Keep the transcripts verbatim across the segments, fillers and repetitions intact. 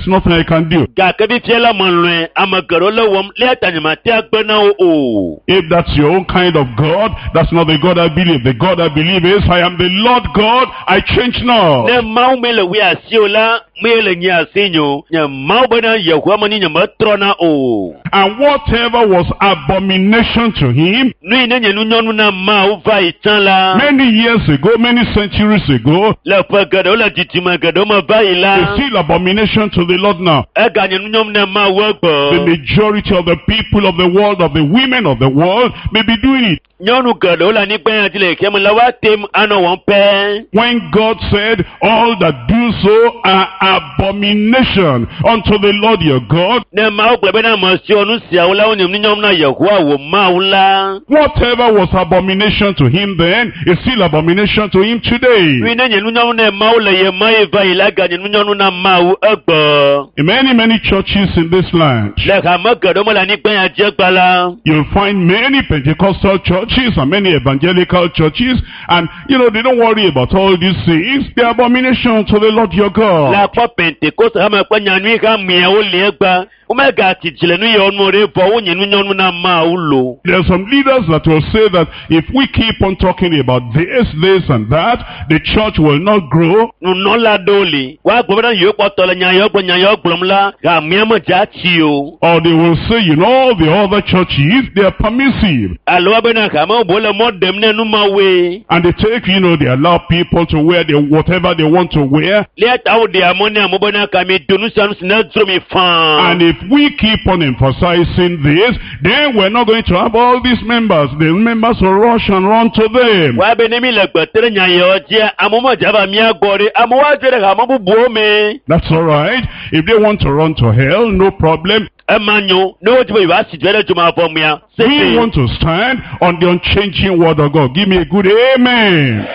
nothing I can do. Gake fifia la melɔ̃e ame geɖewo le wɔm eya ta nyemate agbe na wo o. If that's your own kind of God, that's not the God I believe. The God I believe is, I am the Lord God, I change not. Ne Mawu mi le wui asi o la, mi le nye asi nyo. Nye Mawu bena Yehowa me ni nyemetrɔna o. And whatever was abomination to him, Nu yi ne nye nunyɔnu na Mawu va yi tsã la. many years ago, many centuries ago, Le ƒe geɖewo le didime geɖewo me va yi is la. still abomination to the Lord now. Eganye nunyɔnu na Mawu The egbe. majority of the people of the world, of the women of the world, may be doing it. Nyɔnu geɖewo le anyigba ya dzi le xexea me la woate ŋu anɔ wɔm pɛ. When God said, all that do so are abomination unto the Lord your God, Ne Mawu gblɔ bena ame siwo nu siawo la wonye nunyɔnu na Yehowa wò Mawu la. whatever was abomination to him then is still abomination to him Nu yi today. ne nye nunyɔnu na Mawu le ye ma yi va yi la eganye nunyɔnu na Mawu egbe. In many, many churches in this land, Le hame geɖewo me le anyigba ya dzi egbe la. you'll find many Pentecostal churches and many evangelical churches, and you know, they don't worry about all these things. They're abomination to the Lord your Le God. akpɔ Pentekoste hame ƒe nyanyui hameawo li egbe. Womegati dzi le nu yawo nu ɖe vɔ wonye nunyɔnu na Mawu lo. There are some leaders that will say that if we keep on talking about this, this, and that, the church will not grow. Nunɔla ɖewo li. Woagblɔ bena yewo kpɔtɔ le nya yawo gblɔm nya yawo gblɔm la, hamea me dza tsi o. Or they will say, you know, the other churches, they are permissive. Alo woabena hame bubuwo le mɔ ɖem ne numawoe. And they take, you know, they allow people to wear the, whatever they want to wear. Eya ta woɖea mɔ ne amewo bena ka mi do nu sia nu si ne dzro mi faa. And if we keep on emphasizing this, then we're not going to have all these members. The members will rush and run to them. Woabe ne mi le gbe te ɖe nya yawo dzia, amewo medza va mía gbɔ ɖe. Amewo adzo ɖe hame bubuwo me. That's all right. If they want to run to hell, no problem. Ema nyo. Ne wodzi be yewoasi dze ɖe dzomavɔ mea, We sese. want to stand on the unchanging word of God. Give me a good amen.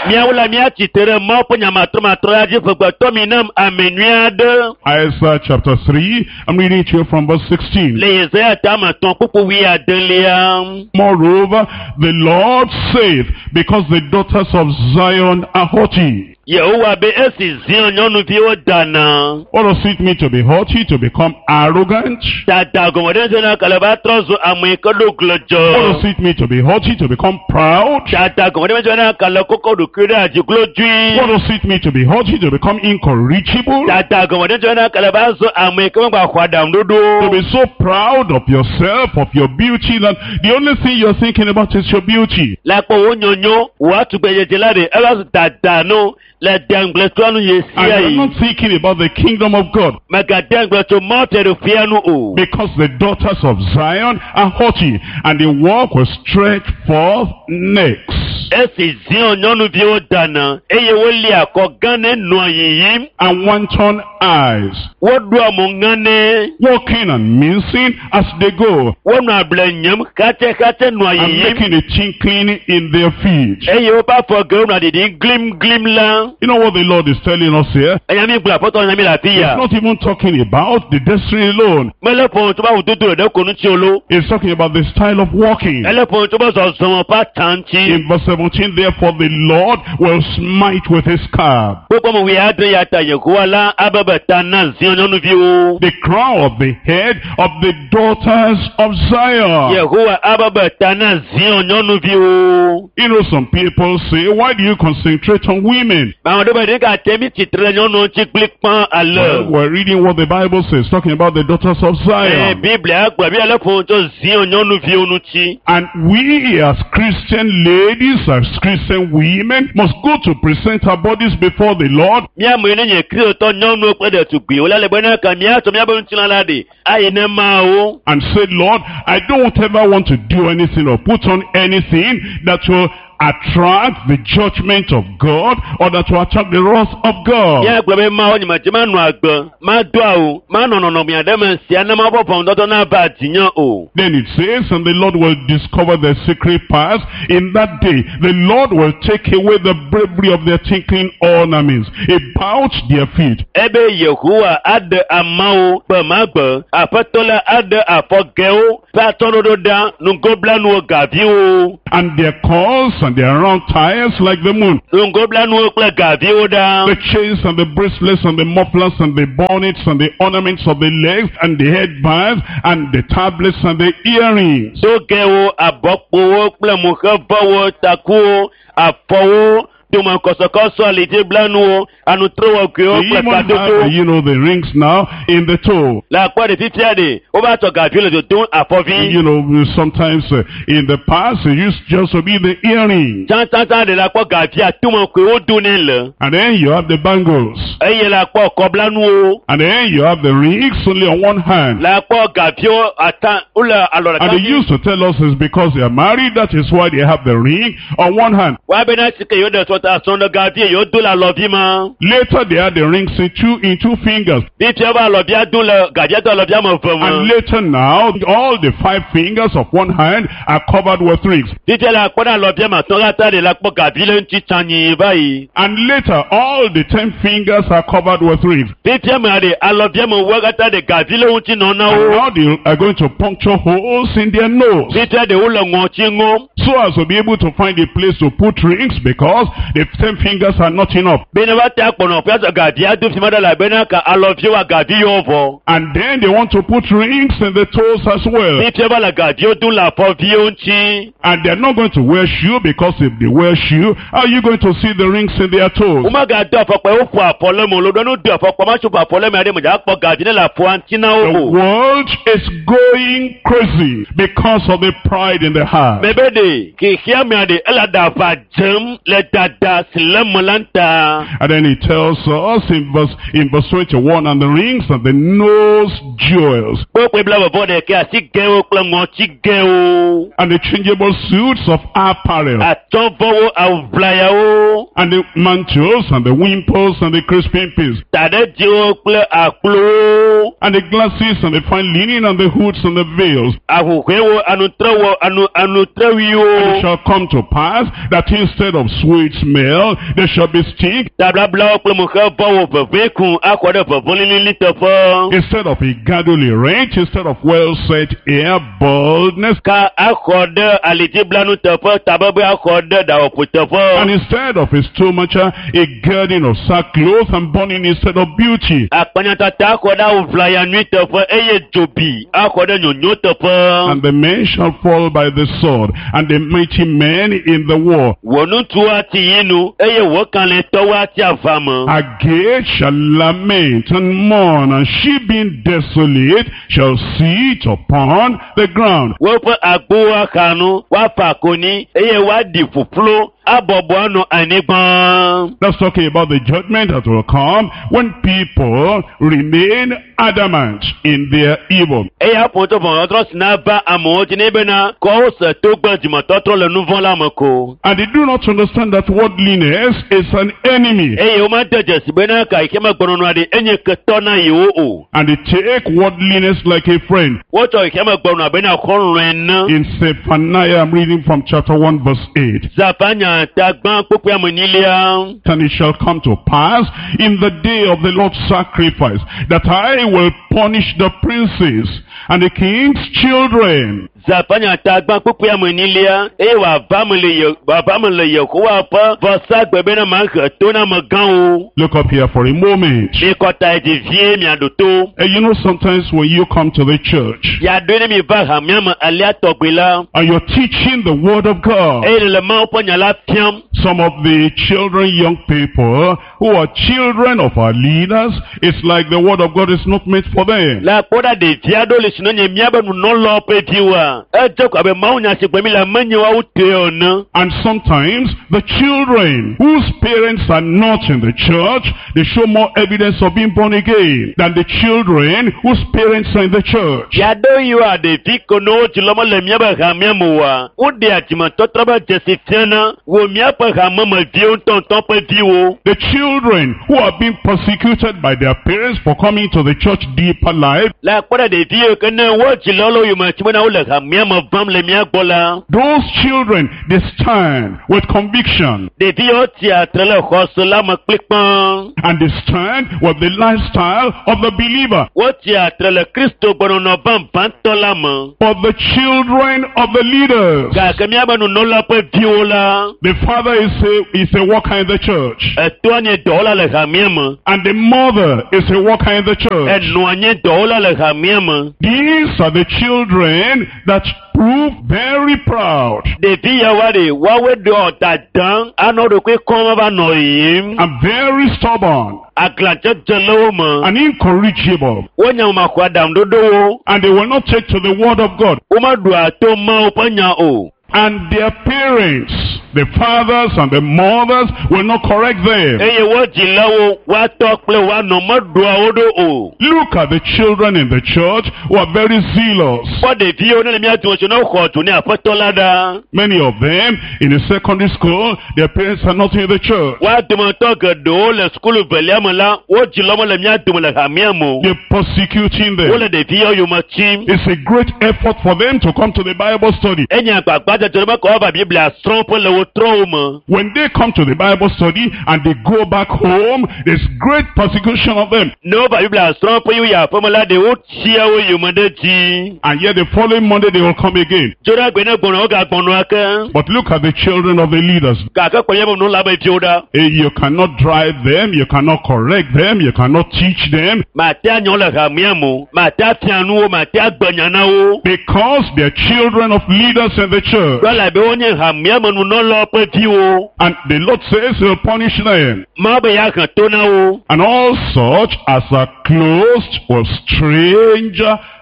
Míawo la míatsi te ɖe Mawu ƒe nyamatrɔmatrɔ ya dzi ƒegbetɔ mi nam ame nyui aɖe. Isaiah chapter three, I'm reading to you from verse sixteen. Le Yesaya tame etɔ̃ kpukpu wuiadelia. Moreover, the Lord saith, because the daughters of Zion are haughty. Yehowa be esi Zion nyɔnuviwo dana. What does it mean to be haughty, to become arrogant? Dada gɔme ɖe ŋusẽ na kale va trɔ zu ame yi ke ɖo What does glɔdzɔ. it mean to be haughty, to become proud? Dada gɔme ɖe ŋusẽ na kale kɔkɔ ɖokui ɖe adzi glodzoe. What does it mean to be haughty, to become incorrigible? Dada gɔme ɖe ŋusẽ na kale va zu ame yi ke megba xɔ aɖaŋuɖoɖo. To be so proud of yourself, of your beauty, that the only thing you're thinking about is your beauty. Le akpɔ wo nyonyo, wò atugbedzedze la ɖe eva zu dada no le deŋgbletoa nu ye And sia you're yi. not thinking about the kingdom of God. Mègade ŋugble tso Mawu fiaɖuƒea nu o. Because the daughters of Zion are haughty, and they walk with stretched forth necks. Esi Zion nyɔnuviwo dana eye woli akɔ gã ne nɔa yiyim, And wanton eyes, woɖoa mo ŋane, walking and mincing as they go, wonɔa able nyem xatsɛxatsɛ nɔa and yiyim making a tinkling in their feet. eye woƒe afɔ gewo nɔa ɖiɖim glimglim la. You know what the Lord is telling us here? Enya mi gblɔ aƒetɔ nya mi le afi He's ya. not even talking about the destiny alone. Mele ƒo tso be awudodo ɖe ko ŋuti o lo. He's talking about the style of walking. Ele ƒo tso be zɔzɔme ƒe atsa ŋuti. In verse seventeen, therefore the Lord will smite with his staff Kpokpɔ me wuiadre ya ta Yehowa la abe be ta na Zion nyɔnuviwo. the crown of the head of the daughters of Zion. Yehowa abe be ta na Zion nyɔnuviwo. You know, some people say, why do you concentrate on women? Ame ɖewo be ɖeka te mi tsitre ɖe nyɔnuwo ŋuti kplikpã ale. Well, we're reading what the Bible says, talking about the daughters of Ee, Zion. Biblia gblɔ bi ele ƒo nu tso Zion nyɔnuviwo ŋuti. And we as Christian ladies, as Christian women, must go to present our bodies before the Lord Míame yi ne nye Kristotɔ nyɔnuwo kple ɖetugbiwo la le bena ka míatsɔ míaƒe ŋutilã la ɖi ayi ne Mawu. and say, Lord, I don't ever want to do anything or put on anything that will attract the judgment of God or that will attract the wrath of God. Míagblɔ be Mawu nyemedze manɔ agbe, mado awu, manɔ nɔnɔme aɖe me sia ne Mawu ƒe ʋɔnudɔdrɔ̃ nava dzinye o. Then it says, and the Lord will discover their secret paths. In that day, the Lord will take away the bravery of their tinkling ornaments about their feet. Ebe Yehowa aɖe ameawo gbe ma gbe, Aƒetɔ la aɖe afɔgɛwo ƒe atɔɖoɖo ɖa nugoblanuwo gaviwo And their cords and and their round ties like the moon. Ŋgoblanuwo kple gaviwo ɖa. The chains and the bracelets and the mufflers and the bonnets and the ornaments of the legs and the headbands and the tablets and the earrings. Sogɛwo, abɔkpowo kple muxevɔwo, takuwo, afɔwo, domekɔsɔkɔsɔ, alidziblanuwo, anutrewɔgɔewo They kple even have, kadodo. you know, the rings now in the toe. Le akpɔ ɖe fifia ɖe, wova tsɔ gaviwo le dodom afɔvi. You know, sometimes uh, in the past it used just to be the earrings. Tsãtsãtsã ɖe le akpɔ gavia tomekoe wodo nɛ le. And then you have the bangles. Eye le akpɔ kɔblanuwo. And then you have the rings only on one hand. Le akpɔ gaviwo ata wole alɔ And ɖeka they dzi. used to tell us it's because they are married, that is why they have the ring on one hand. Woabena si ke yewo ɖe sɔta srɔ̃ ɖe gavie yewo do le alɔvi ma. Later they had the rings in two, in two fingers. Fifia va alɔvia do le gavia do alɔvia me ve And me. later now, all the five fingers of one hand are covered with rings. Fifia le akpɔ ɖe alɔvia me atɔ̃ katã ɖe le akpɔ gavi le ŋuti tsanyi va yi. And later, all the ten fingers are covered with rings. Fifia me ɖe alɔvia me wo katã ɖe gavi le ŋuti nɔ na And wo. now they are going to puncture holes in their nose. Fifia ɖe wole ŋɔtsi ŋɔm. So as to be able to find a place to put rings because the ten fingers are not enough. Bene va te akpɔnɔ ƒe azɔ gavia do fi ma ɖe elabena ka alɔviwo agavi yewo vɔ. And then they want to put rings in the toes as well. Fifia va le gaviwo dom le afɔviwo ŋuti. And they're not going to wear shoe because if they wear shoe, how are you going to see the rings in their toes? Womegado afɔkpa woƒo afɔ le me o. Lo ɖe nu do afɔkpa ma tso ƒo afɔ le me aɖe me dza akpɔ gavi ne le afɔa ŋuti na The wo o. world is going crazy because of the pride in the heart. Mebe ɖe xexea mea ɖe ele aɖaʋa dzem le dada si le me la ta. And then he tells us in verse, in verse twenty-one, and the rings and the nose jewels Kpokpoe bla vɔvɔ ɖeke asigɛwo kple ŋɔtsigɛwo. and the changeable suits of apparel Atsɔvɔwo awuvlayawo. and the mantles and the wimples and the crisping pins Taɖedziwo kple akplowo. and the glasses and the fine linen and the hoods and the veils. Ahuhɔewo anutrewo anu And it anutrewiwo. shall come to pass that instead of sweet smell, there shall be stink. Tablablawo kple muxevɔwo veve kun akɔ ɖe veve lilili teƒe. Instead of a godly rent, instead of well set hair, baldness, Ka akɔ ɖe alidziblanu teƒe tabebe akɔ ɖe ɖawɔƒo teƒe. and instead of a stomacher, a girding of sackcloth and burning instead of beauty. Akpanyatata akɔ ɖe awuvlaya nyui teƒe eye dzobi akɔ ɖe nyonyo teƒe. And the men shall fall by the sword, and the mighty men in the war. Wò ŋutsuwo ati yi nu eye wò kalẽtɔwo ati ava me. Her gate shall lament and mourn, and she being desolate shall sit upon the ground. Woƒe agbowo axa nu, woafa konyi eye woaɖi ƒuƒlu abɔbɔ anɔ anyigba. That's talking about the judgment that will come when people remain adamant in their evil. Eya ƒo tso ʋɔnudɔdrɔ̃ si nava amewo dzi ne bena kɔ wose togbe dzimetɔtrɔ le nu vɔ̃ la me ko. And they do not understand that worldliness is an enemy. Eye womede dzesi bena ka yi ke megbɔnɔnɔa ɖi enye ketɔ na yewo o. And they take worldliness like a friend. Wotsɔ yi ke megbɔnɔa bena xɔlɔ̃e ne. In Zephaniah, I'm reading from chapter one verse eight. Zafanya ta gbã kpukpui ame enyilia. And it shall come to pass in the day of the Lord's sacrifice that I will punish the princes and the king's children. Zafanya ta gbã kpukpui ame enyilia eye wòava me le Ye- wòava me le Yehowa ƒe vɔsagbe bena mahe to na amegãwo. Look up here for a moment. Mikɔ ta yi dzi vie miaɖo to. And you know, sometimes when you come to the church Yaɖoe ne mi va hamea me alea tɔgbi la and you're teaching the word of God, eye le Mawu ƒe nya la fiam. some of the children, young people who are children of our leaders, it's like the word of God is not meant for them. Le akpɔ ɖa ɖevi aɖewo le si ne nye míabe nunɔlawo ƒe viwoa, edze ko abe Mawu nya si gblɔm mi le menye woawo tɔe ene. And sometimes the children whose parents are not in the church, they show more evidence of being born again than the children whose parents are in the church. Yaɖewo yiwoa ɖevi ko ne wo dzilawo mele míabe hamea me oa, woɖea dzimetɔtrɔ be dzesi fiana wo míaƒe hamemeviwo ŋutɔŋutɔ ƒe viwo. The children who are being persecuted by their parents for coming to the church deeper life, Le akpɔ ɖa ɖevi yiwo ke ne wo dzilawo le wo yome tsi bena wole hamea me vam le mía gbɔ la those children, they stand with conviction ɖevi yawo tsia tre le xɔse la me kplikpã and they stand with the lifestyle of the believer. wotsia tre le kristo gbenɔnɔ vavãtɔ la me But the children of the leaders, gake míabe nunɔla ƒe viwo la the father is a, is a worker in the church, etoa nye dɔwɔla le hamea me and the mother is a worker in the church. enɔa nye dɔwɔla le hamea me These are the children that prove very proud ɖevi yawoa ɖe woawoe ɖɔ dadam anɔ ɖokui kɔm va nɔ yiyim and very stubborn aglãdzedze le wo me and incorrigible, wonya maxɔ aɖaŋuɖoɖowo and they will not take to the word of God. womeɖua to Mawu ƒe nya o And their parents, the fathers and the mothers, will not correct them. eye wo dzilawo woatɔ kple woanɔ meɖua wo ɖo o Look at the children in the church who are very zealous. kpɔ ɖeviwo ne le mía dome tso ne woxɔ dzo ne aƒetɔ la ɖa Many of them in the secondary school, their parents are not in the church. woa dometɔ geɖewo le sukulu velia me la wo dzilawo mele mía dome le hamea me o They're persecuting them. wole ɖeviwo yome tsim It's a great effort for them to come to the Bible study. enye agbagbadzedze be kɔ va biblia srɔ̃ƒe le wo trɔwo me When they come to the Bible study and they go back home, there's great persecution of them. ne wova biblia srɔ̃ƒe yi woyi aƒeme la ɖe wotsia wo yome ɖe dzi And yet the following Monday they will come again. dzo ɖe agbe ne gbɔnɔ wogagbɔnɔ ake But look at the children of the leaders. gake kpɔ míaƒe nunɔla be viwo ɖa Eh, You cannot drive them, you cannot correct them, you cannot teach them mate anyɔ le hamea me o mate afia nu wo mate agbe nya na wo because they're children of leaders in the church. gblɔ la be wonye hamea me nunɔlawo ƒe viwo And the Lord says he'll punish them. Mawu be yeahe to na wo And all such as are clothed with strange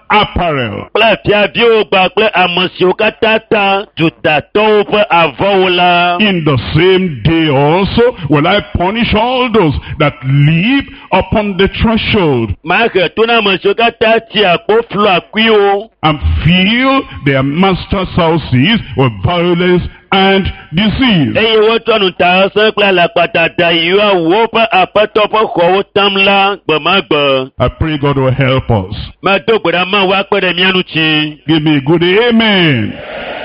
apparel. kple fiaviwo gba kple ame siwo katã ta dutatɔwo ƒe avɔwo la In the same day also will I punish all those that leap upon the threshold mahe to na ame siwo katã tsia kpoflu akuiwo and fill their masters' houses with violence and disease. eye wotsɔ nutaese kple alakpadada yiwo woƒe aƒetɔ ƒe xɔwo tam la gbemagbe I pray God will help us. medo gbe ɖa Mawu akpe ɖe mía ŋuti Give me a good amen.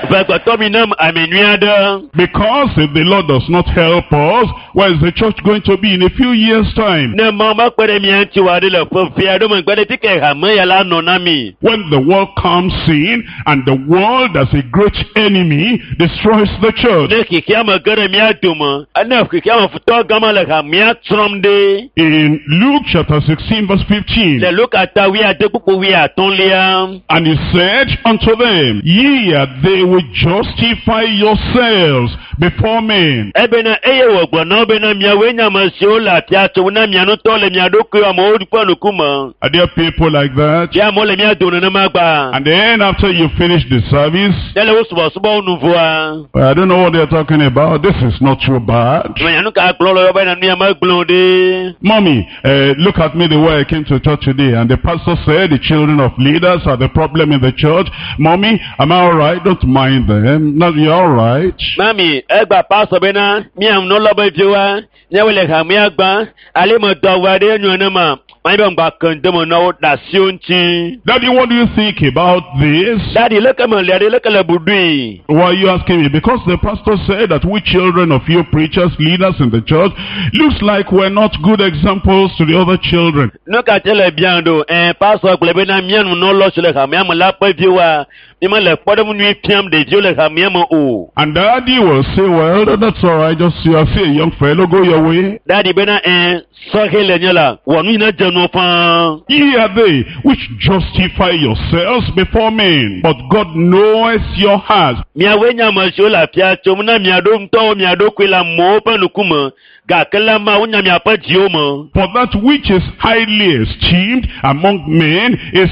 vegbetɔ mi nam ami nyui aɖe Because if the Lord does not help us, where is the church going to be in a few years' time? ne Mawu mekpe ɖe mía ŋuti wa ɖe le ƒe vi aɖewo megbe ɖe fike hame ya la nɔ na mi When the world comes in and the world as a great enemy destroys the church. ne xexea me ge ɖe mía dome ne xexea me futɔ gama le hamea tsrɔ̃m ɖe In Luke chapter sixteen verse fifteen, le Luka ta wuiade kpukpu wuiatɔ̃lia and he said unto them, Ye are they which justify yourselves before men. ebena eye wògblɔ na wo bena miawoe nye ame siwo le afia tsom na mia ŋutɔ le mia ɖokuiwo amewo ƒe ŋkume Are there people like that? fia amewo le mía dome nenema gba And then after you finish the service, ne le wo subɔsubɔwo nu vɔa well, I don't know what they're talking about. This is not too bad. menya nu ka gblɔ le wo bena nu ya megblẽ o ɖe Mommy, uh, look at me the way I came to church today. And the pastor said the children of leaders are the problem in the church. Mommy, am I all right? Don't mind them. No, you're all right. mami egba pasɔ bena mía nunɔla be viwoa míawoe le hamea gbã ale me dɔ awu aɖe enyo nenema manyi be ŋgba ke ŋdeme na wo ɖe asiwo ŋuti Daddy, what do you think about this? dadi leke me lia ɖe leke le buɖui Why are you asking me? Because the pastor said that we children of you preachers, leaders in the church, looks like we're not good examples to the other children. nu ka tse le biam ɖo ɛ pasɔ gblɔ bena mía nunɔlɔ si le hamea me la ƒe viwoa mi mele kpɔɖeŋu nyui fiam ɖeviwo le hamea me o And daddy will say, well, that's all right. Just you are see a young fellow, go your way. dadi bena ɛ sɔhɛ le nye la wɔ nu yi ne dze nuwo fãa Ye are they which justify yourselves before men, but God knoweth your hearts. miawoe nye ame siwo le afia tsom na mia ɖo ŋutɔwo mia ɖokui le amewo ƒe ŋkume gake la Mawu nya miaƒe dziwo me For that which is highly esteemed among men is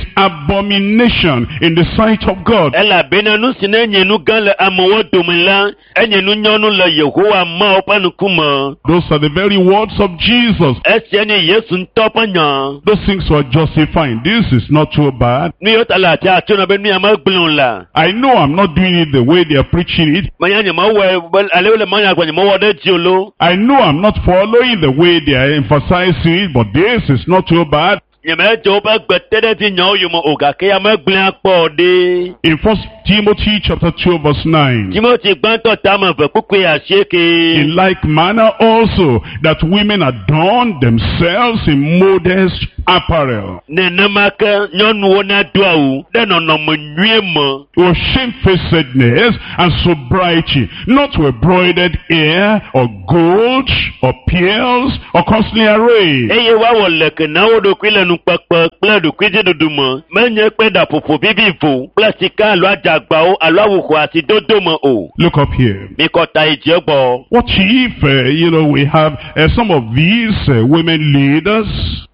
abomination in the sight of God. elabena nu si ne nye nu gã le amewo dome la enye nu nyɔnu le Yehowa Mawu ƒe ŋkume Those are the very words of Jesus. esia nye Yesu ŋutɔ ƒe nya Those things were justifying. This is not too bad. nu yiwo ta le afia tso na be nu ya megblẽ o la I know I'm not doing it the way they are preaching it. menya nyemewɔe be ale wole manya gblɔ nyemewɔ ɖe dzi o lo I know I'm not following the way they are emphasizing it, but this is not too bad. Nyemedze woƒe gbeteɖedzinyawo yome o gake ya megblẽ akpɔ ɖe. In First Timothy chapter two verse nine. Timothy gbãtɔ tame eve kpukpui asieke. In like manner also that women adorn themselves in modest apparel, Nenema ke nyɔnuwo nado awu ɖe nɔnɔme nyuie me. with shamefacedness and sobriety, not with broidered hair or gold or pearls or costly array, Eye woawɔ leke na wo ɖokui le nukpekpe kple ɖokuidziɖuɖu me. Menye kple ɖaƒoƒo vivivo kple sika alo adzagbawo alo awu xɔasi dodo me o. Look up here. Mikɔ ta yi dzi egbɔ. What if, uh, you know, we have uh, some of these uh, women leaders?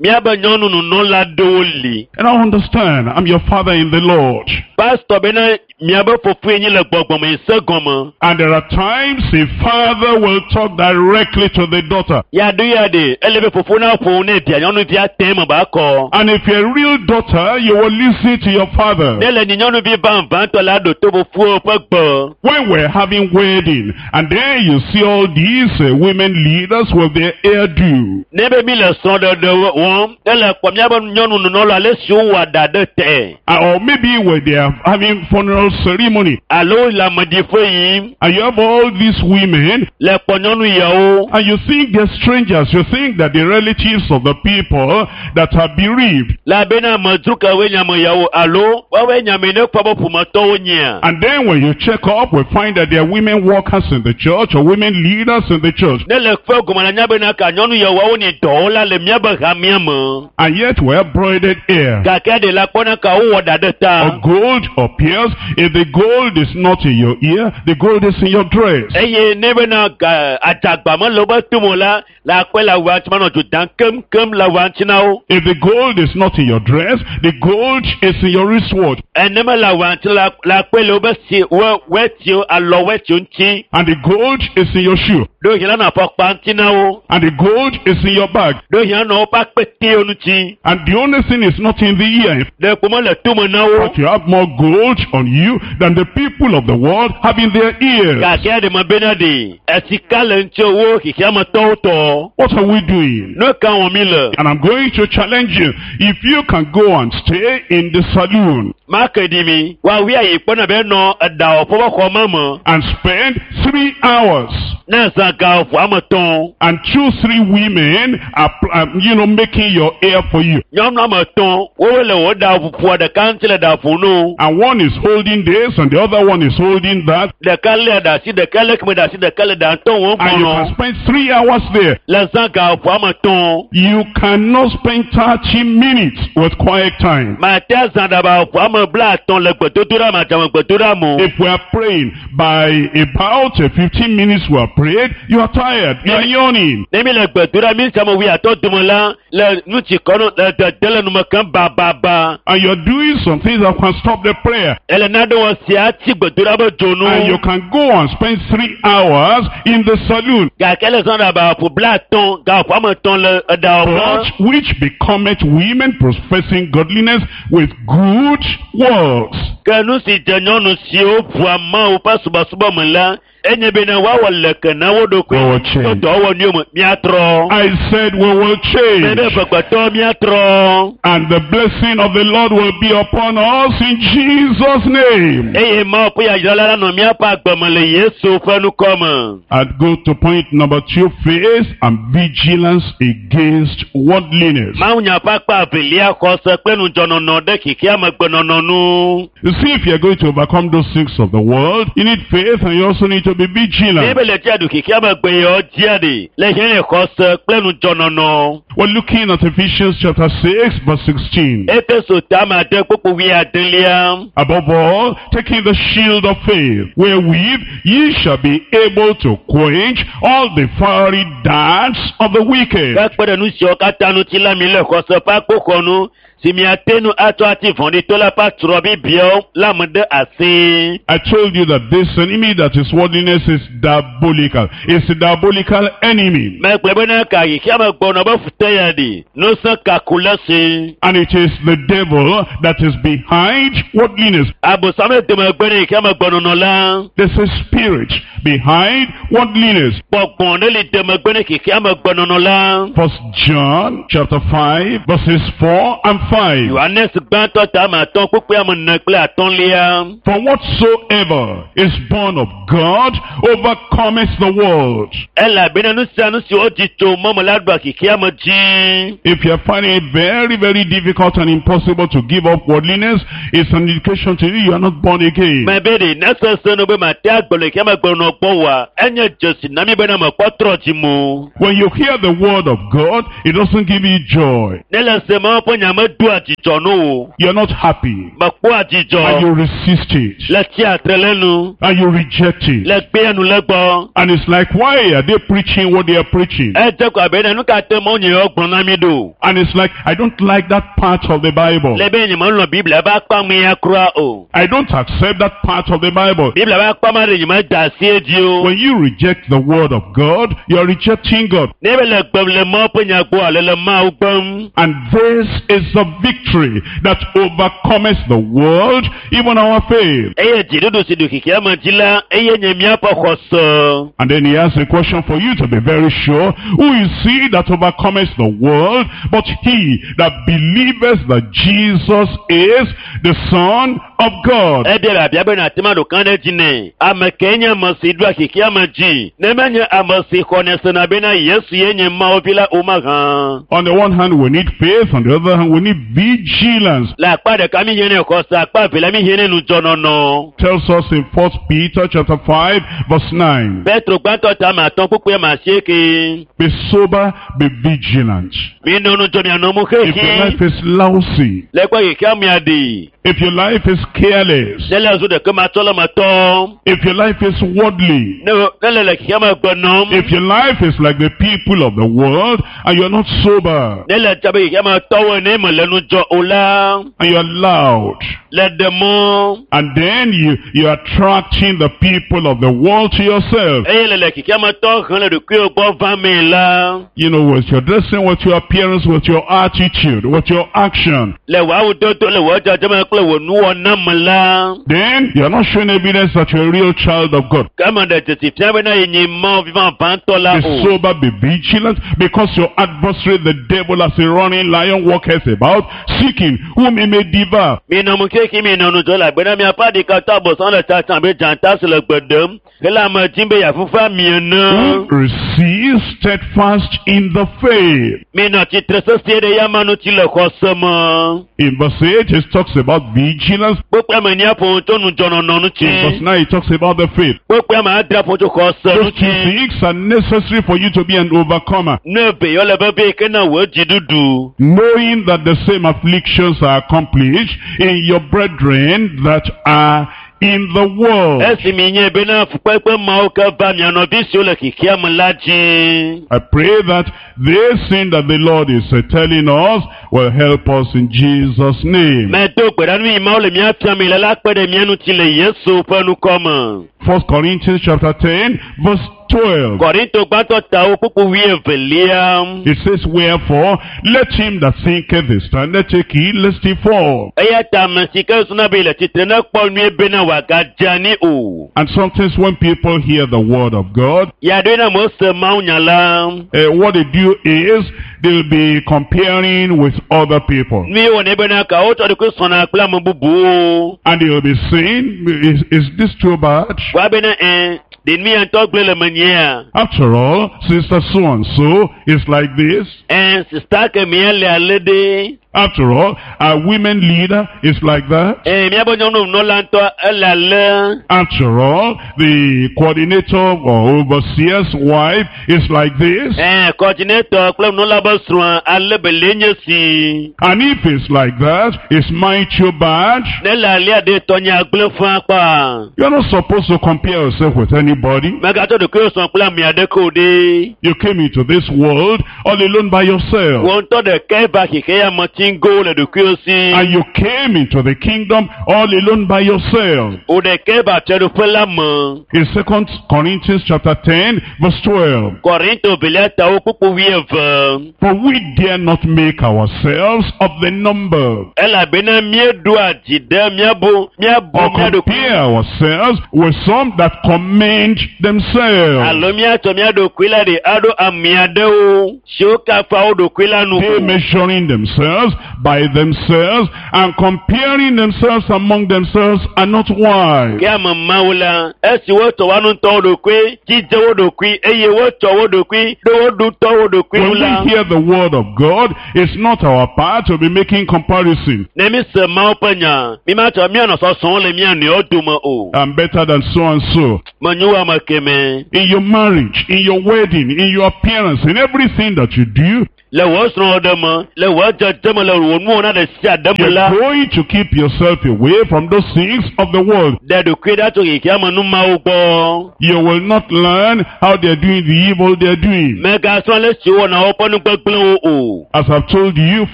Míabe nyɔnu nunɔla ɖewo li. And I understand, I'm your father in the Lord. Pastor bena miabe fofoe nyi le gbɔgbɔme yi se gɔme. And there are times a father will talk directly to the daughter. Yaɖo ya ɖe ele be fofo na ƒo ne via nyɔnuvia tɛ me ba kɔ. And if you're a real daughter, you will listen to your father. Ne le nyi nyɔnuvi vavãtɔ la ɖo to fofoa ƒe gbe. When we're having wedding, and then you see all these uh, women leaders with their hairdo. Ne be mi le srɔ̃ɖeɖe wɔm, ne le kpɔ miabe nyɔnu nunɔla ale si wowɔ ɖa ɖe tɛ. Uh, Or maybe when they are having funeral ceremony, Alo le ameɖiƒe yim and you have all these women, le kpɔ nyɔnu yawo. and you think they're strangers, you think that the relatives of the people that are bereaved. Le abe na amedzro kewoe nye ame yawo alo woawoe nye ame yi ne kpɔ be ƒometɔwo nyea. And then when you check up, we find that there are women workers in the church or women leaders in the church. Ne le kpe gɔme la nya bena ka nyɔnu yawoawo nye dɔwɔla le miabe hamea me. And yet we have broidered hair. Gake ɖe la kpɔna ka wowɔ ɖa ɖe ta. Or gold or pearls. If the gold is not in your ear, the gold is in your dress. Eye ne bena ga adzagba mele wobe tome o la, le akpɔe le awua ŋuti manɔ dzo dam keŋkeŋ le awua ŋuti na wo. If the gold is not in your dress, the gold is in your wristwatch. Ene mele awua ŋuti la le akpɔe le wobe si wo wɛtiwo alɔ wɛtiwo ŋuti. And the gold is in your shoe. Ɖo hiã la nɔ afɔkpa ŋuti na wo. And the gold is in your bag. Ɖo hiã nɔ woƒe akpetewo ŋuti. And the only thing is not in the ear. Ɖe kpo mele tome na wo. But you have more gold on you than the people of the world have in their ears. Gake ɖe me bena ɖe esika le ŋuti wo xexeametɔwo tɔ. What are we doing? Nu ka wɔm mi le? And I'm going to challenge you. If you can go and stay in the saloon Make ɖi mi. Woawi ayi kpɔna be nɔ eɖawɔƒe ƒe xɔ me me. and spend three hours Ne zã ga ʋu ame etɔ̃. and two, three women are, um, you know, making your hair for you. Nyɔnu ame etɔ̃ wowe le wo ɖa ƒoa ɖeka ŋuti le ɖa ƒom no. And one is holding this and the other one is holding that. Ɖeka lé ɖe asi, ɖeka lé keme ɖe asi, ɖeka le ɖa ŋutɔ wɔm And you can kɔnɔ. spend three hours there. Le zã ga ʋu ame etɔ̃. You cannot spend thirty minutes with quiet time. Mate azã ɖaba ʋu ame blaatɔ̃ le gbedodoɖa me, adzame gbedoɖa me o. If we are praying by about uh, fifteen minutes we are prayed, you are tired, you are yawning. Ne mi le gbedoɖa mi ame wuiatɔ̃ dome la, le nu tsi kɔ nɔ le dede le nume kem bababa. And you're doing some things that can stop the prayer. Ele nane wɔ sia tsi gbedoɖa be dzonu. And you can go and spend three hours in the saloon. Gake le zã ɖaba ƒo blaatɔ̃ ga ƒo ame etɔ̃ le eɖawɔƒe. But which becometh women professing godliness with good works. Ke nu si dze nyɔnu siwo ʋua Mawu ƒe subɔsubɔ me la, enye bena woawɔ leke na wo ɖokui. We will change. To dɔwɔnuwo me míatrɔ. I said we will Bebe change. gbɛgbɛtɔ míatrɔ. And the blessing of the Lord will be upon us in Jesus' name. Eye Mawu ƒe yayra la nanɔ míaƒe agbe me le Yesu ƒe ŋkɔ me. And go to point number two, faith and vigilance against worldliness. Mawu nya ƒe akpa evelia xɔse kple ŋudzɔnɔnɔ ɖe xexeamegbenɔnɔ nu. You see, if you're going to overcome those things of the world, you need faith and you also need to be Ne vigilant. be le dzia ɖu xexeamegbe yewo dzia ɖi le hiã le xɔse kple ŋudzɔnɔnɔ. We're looking at Ephesians chapter six, verse sixteen. Efeso tame ade kpukpu wuiadelia. Above all, taking the shield of faith, wherewith ye shall be able to quench all the fiery darts of the wicked. Ke kpe ɖe nu siawo katã ŋuti la mi le xɔse ƒe akpoxɔnu Si miate nu atsɔ ati vɔ̃ɖitɔ la ƒe atrɔ bibiawo la me ɖe asi. I told you that this enemy that is worldliness is diabolical. It's a diabolical enemy. Megblɔ bena ka xexea me gbɔnɔ be fute ya ɖi. Nusẽ kaku le si. And it is the devil that is behind worldliness. Abosam le domegbe ɖe xexea me gbɔnɔnɔ la. There's a spirit behind worldliness. Gbɔgbɔ ɖe li domegbe ɖe xexea me gbɔnɔnɔ la. First John chapter five verses four and five. Yohanes gbãtɔ ta ame atɔ̃ kpukpui ame ene kple atɔ̃lia. For whatsoever is born of God overcometh the world. Elabena nu sia nu si wodzi tso mɔme la ɖua xexea me dzi. If you are finding it very, very difficult and impossible to give up worldliness, it's an indication to you you are not born again. Mebe ɖe ne sese no be mate agbe le xexea me gbɔnɔ gbɔ wa, enye dzesi na mi bena mekpɔ trɔ dzi mo. When you hear the word of God, it doesn't give you joy. Ne le se Mawu ƒe nya medoa dzidzɔ no o. You're not happy. Mekpɔa And dzidzɔ. you resist it. Le tsiatre le nu. And you reject it. Le gbea nu le gbɔ. And it's like, why are they preaching what they are preaching? Edze ko abe ne nu ka te Mawu nye yewo gblɔ na mi ɖo. And it's like, I don't like that part of the Bible. Le be nye melɔ̃ Biblia ƒe akpa mea kura o. I don't accept that part of the Bible. Biblia ƒe akpa ma ɖe nye meda asi edzi o. When you reject the word of God, you're rejecting God. Ne be le gbem le Mawu ƒe nya gbɔ ale le Mawu gbem. And this is the victory that overcometh the world, even our faith. Eye dziɖuɖu si ɖu xexea me dzi la, eye nye míaƒe xɔse. And then he asks a question for you to be very sure. Who is he that overcometh the world, but he that believeth that Jesus is the Son of God? Ebia biabia be nàte ma ɖo kã ɖe dzi nɛ. Ame kae nye ame si ɖua xexea me dzi? Ne menye ame si xɔnɛ sena bena Yesu ye nye Mawu vi la o mahã. On the one hand, we need faith. On the other hand, we need vigilance. Le akpa ɖeka mi hiã nɛ xɔse, akpa evelia mi hiã nɛ nudzɔnɔnɔ. Tells us in First Peter chapter five, verse nine. Petro gbãtɔ ta ame atɔ̃ kpukpui ame asieke. Be sober, be vigilant. Mi nɔ nudzɔ mianɔ mo If your xexi. life is lousy, Le kpe xexea mea ɖi. if your life is careless, Ne le zu ɖeke matsɔ le me tɔ. if your life is worldly, Ne ne le le xexea me gbe nɔm. if your life is like the people of the world and you're not sober Ne le dza be xexea me tɔwo ene me le nudzɔ o la. and you're loud, Le ɖe mɔ. and then you, you're attracting the people of the world to yourself. Eye le le xexea me tɔ hem le ɖokuiwò gbɔ va mee la. You know, with your dressing, with your appearance, with your attitude, with your action. Le wò awudodo le wò dzɔdzɔme kple wò nuwɔna me la. Then you're not showing evidence that you're a real child of God. Ke eme ɖe dzesi fia bena yenye Mawu vi vavãtɔ la Be o. sober, be vigilant, because your adversary, the devil, as a running lion, walketh about, seeking whom he may devour. Minɔ nu keke minɔ nudzɔ le agbena miaƒe aɖikatɔ abosam le tsatsam abe dzata si le gbe ɖem hele ame dzim be yeafufu ami ene. Who resist steadfast in the faith. Minɔ tsitre sesie ɖe yama ŋuti le xɔse me. In verse eight, it talks about vigilance. Kpukpui ame enia ƒo nu tso nudzɔnɔnɔ In verse ŋuti. nine, it talks about the faith. Kpukpui ame adre ƒo nu tso xɔse Those two ŋuti. things are necessary for you to be an overcomer. Nu eve yɔ le vevie ke na wò dziɖuɖu. Knowing that the same afflictions are accomplished in your brethren that are in the world. Esi mi nye bena fukpekpe mawo ke va mia nɔvi siwo le xexea me la dzi. I pray that this thing that the Lord is uh, telling us will help us in Jesus' name. Medo gbe ɖa nu yi Mawu le mía fiam le la kpe ɖe mía ŋuti le Yesu ƒe ŋkɔ me. First Corinthians chapter ten, verse twelve. Korinto gbãtɔ tawo kpukpu wuievelia. It says, Wherefore, let him that thinketh he standeth take heed lest he fall. Eya ta ame si ke suna be le tsitre ne kpɔ nyuie bena wòagadze anyi o. And sometimes when people hear the word of God, Ya ɖoe na amewo se Mawu nya la. uh, what they do is they'll be comparing with other people. Nu ye wɔnɛ bena ka wotsɔ ɖokui sɔna kple ame bubuwo. And they'll be saying, is, is this too bad? Woa bena ɛ ɖe nu ya ŋutɔ gblẽ le menyea. After all, sister so-and-so is like this. Ɛ sista kemea le ale ɖe. After all, our women leader is like that. Ɛ míaƒe nyɔnunɔla ŋutɔ ele ale. After all, the coordinator or overseer's wife is like this. Ɛ kɔdinetɔ kple nunɔla be srɔ̃a ale be le nye si. And if it's like that, is mine too bad? Ne le alea ɖe tɔnye agblẽ fã kpa. You're not supposed to compare yourself with anybody. Mègatsɔ ɖokuiwò sɔ kple ame aɖeke o ɖe. You came into this world all alone by yourself. Wò ŋutɔ ɖekae va xexe ya me tsi. ŋgo le ɖokuiwo si. And you came into the kingdom all alone by yourself. Wò ɖekɛ va fiaɖuƒe la me. In Second Corinthians chapter ten, verse twelve. Kɔrinto velia tawo kpukpu wuieve. For we dare not make ourselves of the number, Elabena míeɖoa dzi ɖe míabu míabu or mía ɖokui compare ourselves with some that commend themselves. alo míatsɔ mía ɖokui la ɖi aɖo ame aɖewo siwo kafa wo ɖokui la nu. They measuring themselves by themselves and comparing themselves among themselves are not wise. Ke ame mawo la, esi wotsɔ woa ŋutɔwo ɖokui, dzidze wo ɖokui eye wotsɔ wo ɖokui ɖo wo ɖutɔ wo ɖokui When ŋu la. we hear the word of God, it's not our part to be making comparison. Ne mi se Mawu ƒe nya, mi ma tsɔ míanɔ sɔsɔm le mía nɔewo dome o. I'm better than so and so. Menyo wu ame kemɛ. In your marriage, in your wedding, in your appearance, in everything that you do, Le wò srɔ̃ɖeɖe me, le wò dzedze me, le wò nuwɔna ɖe sia ɖe me you're la, going to keep yourself away from those things of the world. ɖe ɖokui ɖa tso xexea me numawo gbɔ. You will not learn how they're doing the evil they're doing. Mègasrɔ̃ ale si wowɔna woƒe nu gbegblẽwo o. As I've told you,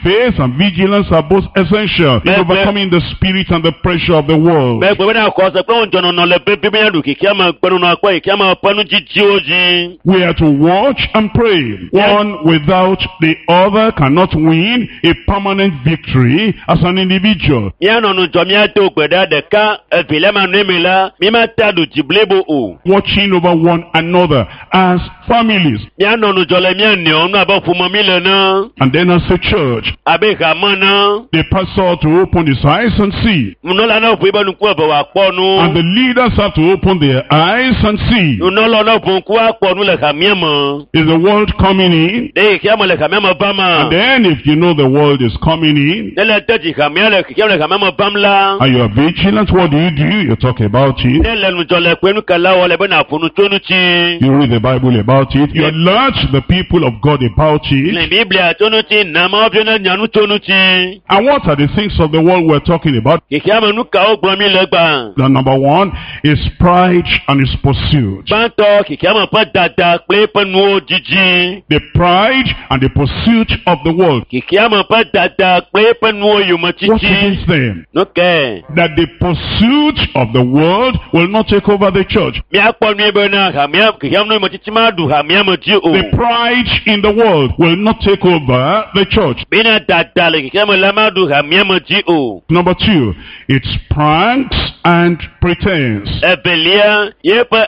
faith and vigilance are both essential in Be- be- overcoming the spirit and the pressure of the world. Megblɔ bena xɔse kple ŋudzɔnɔnɔ le vevi be míaɖu xexea me gbenɔnɔ kple xexea me ƒe nudzidziwo dzi. We are to watch and pray. One without the other cannot win a permanent victory as an individual. Míanɔ ŋudzɔ míado gbe ɖa ɖeka evelia ma nɔe me la, mímate aɖu dzi blibo o. Watching over one another as families Míanɔ ŋudzɔ le mía nɔewo ŋu abe ƒome mi le ene, and then as a church. abe hame ene. The pastor ought to open his eyes and see. Nunɔla ne ʋu eƒe ŋku eve wòakpɔ nu. And the leaders have to open their eyes and see. Nunɔla ne ʋu ŋku akpɔ nu le hamea me. Is the world coming in? Ɖe xexea me le hamea me vam ma? And then if you know the world is coming in Ne le de dzi hamea le xexea me le hamea me vam la, and you are vigilant, what do you do? You talk about it. ne le ŋudzɔ le kpe nukala wɔ le be nàƒo nu tso ŋuti. You read the Bible about it. You alert the people of God about Le it. Biblia tso ŋuti, na Mawu vi ne nya nu tso ŋuti. And what are the things of the world we're talking about? Xexea me nu kawo gblɔm mi le gbã? The number one is pride and its pursuit. Gbãtɔ, xexea me ƒe dada kple eƒe nuwo dzidzi. The pride and the pursuit of the world. Xexea me ƒe dada kple eƒe nuwo What yometiti. against them? Nu kae? That the pursuit of the world will not take over the church. Míakpɔ nyuie bena hamea xexea me nu yometiti maɖu hamea me dzi o. The pride in the world will not take over the church. Bena dada le xexea me la maɖu hamea me dzi o. Number two, it's pranks and pretense. Evelia, yeƒe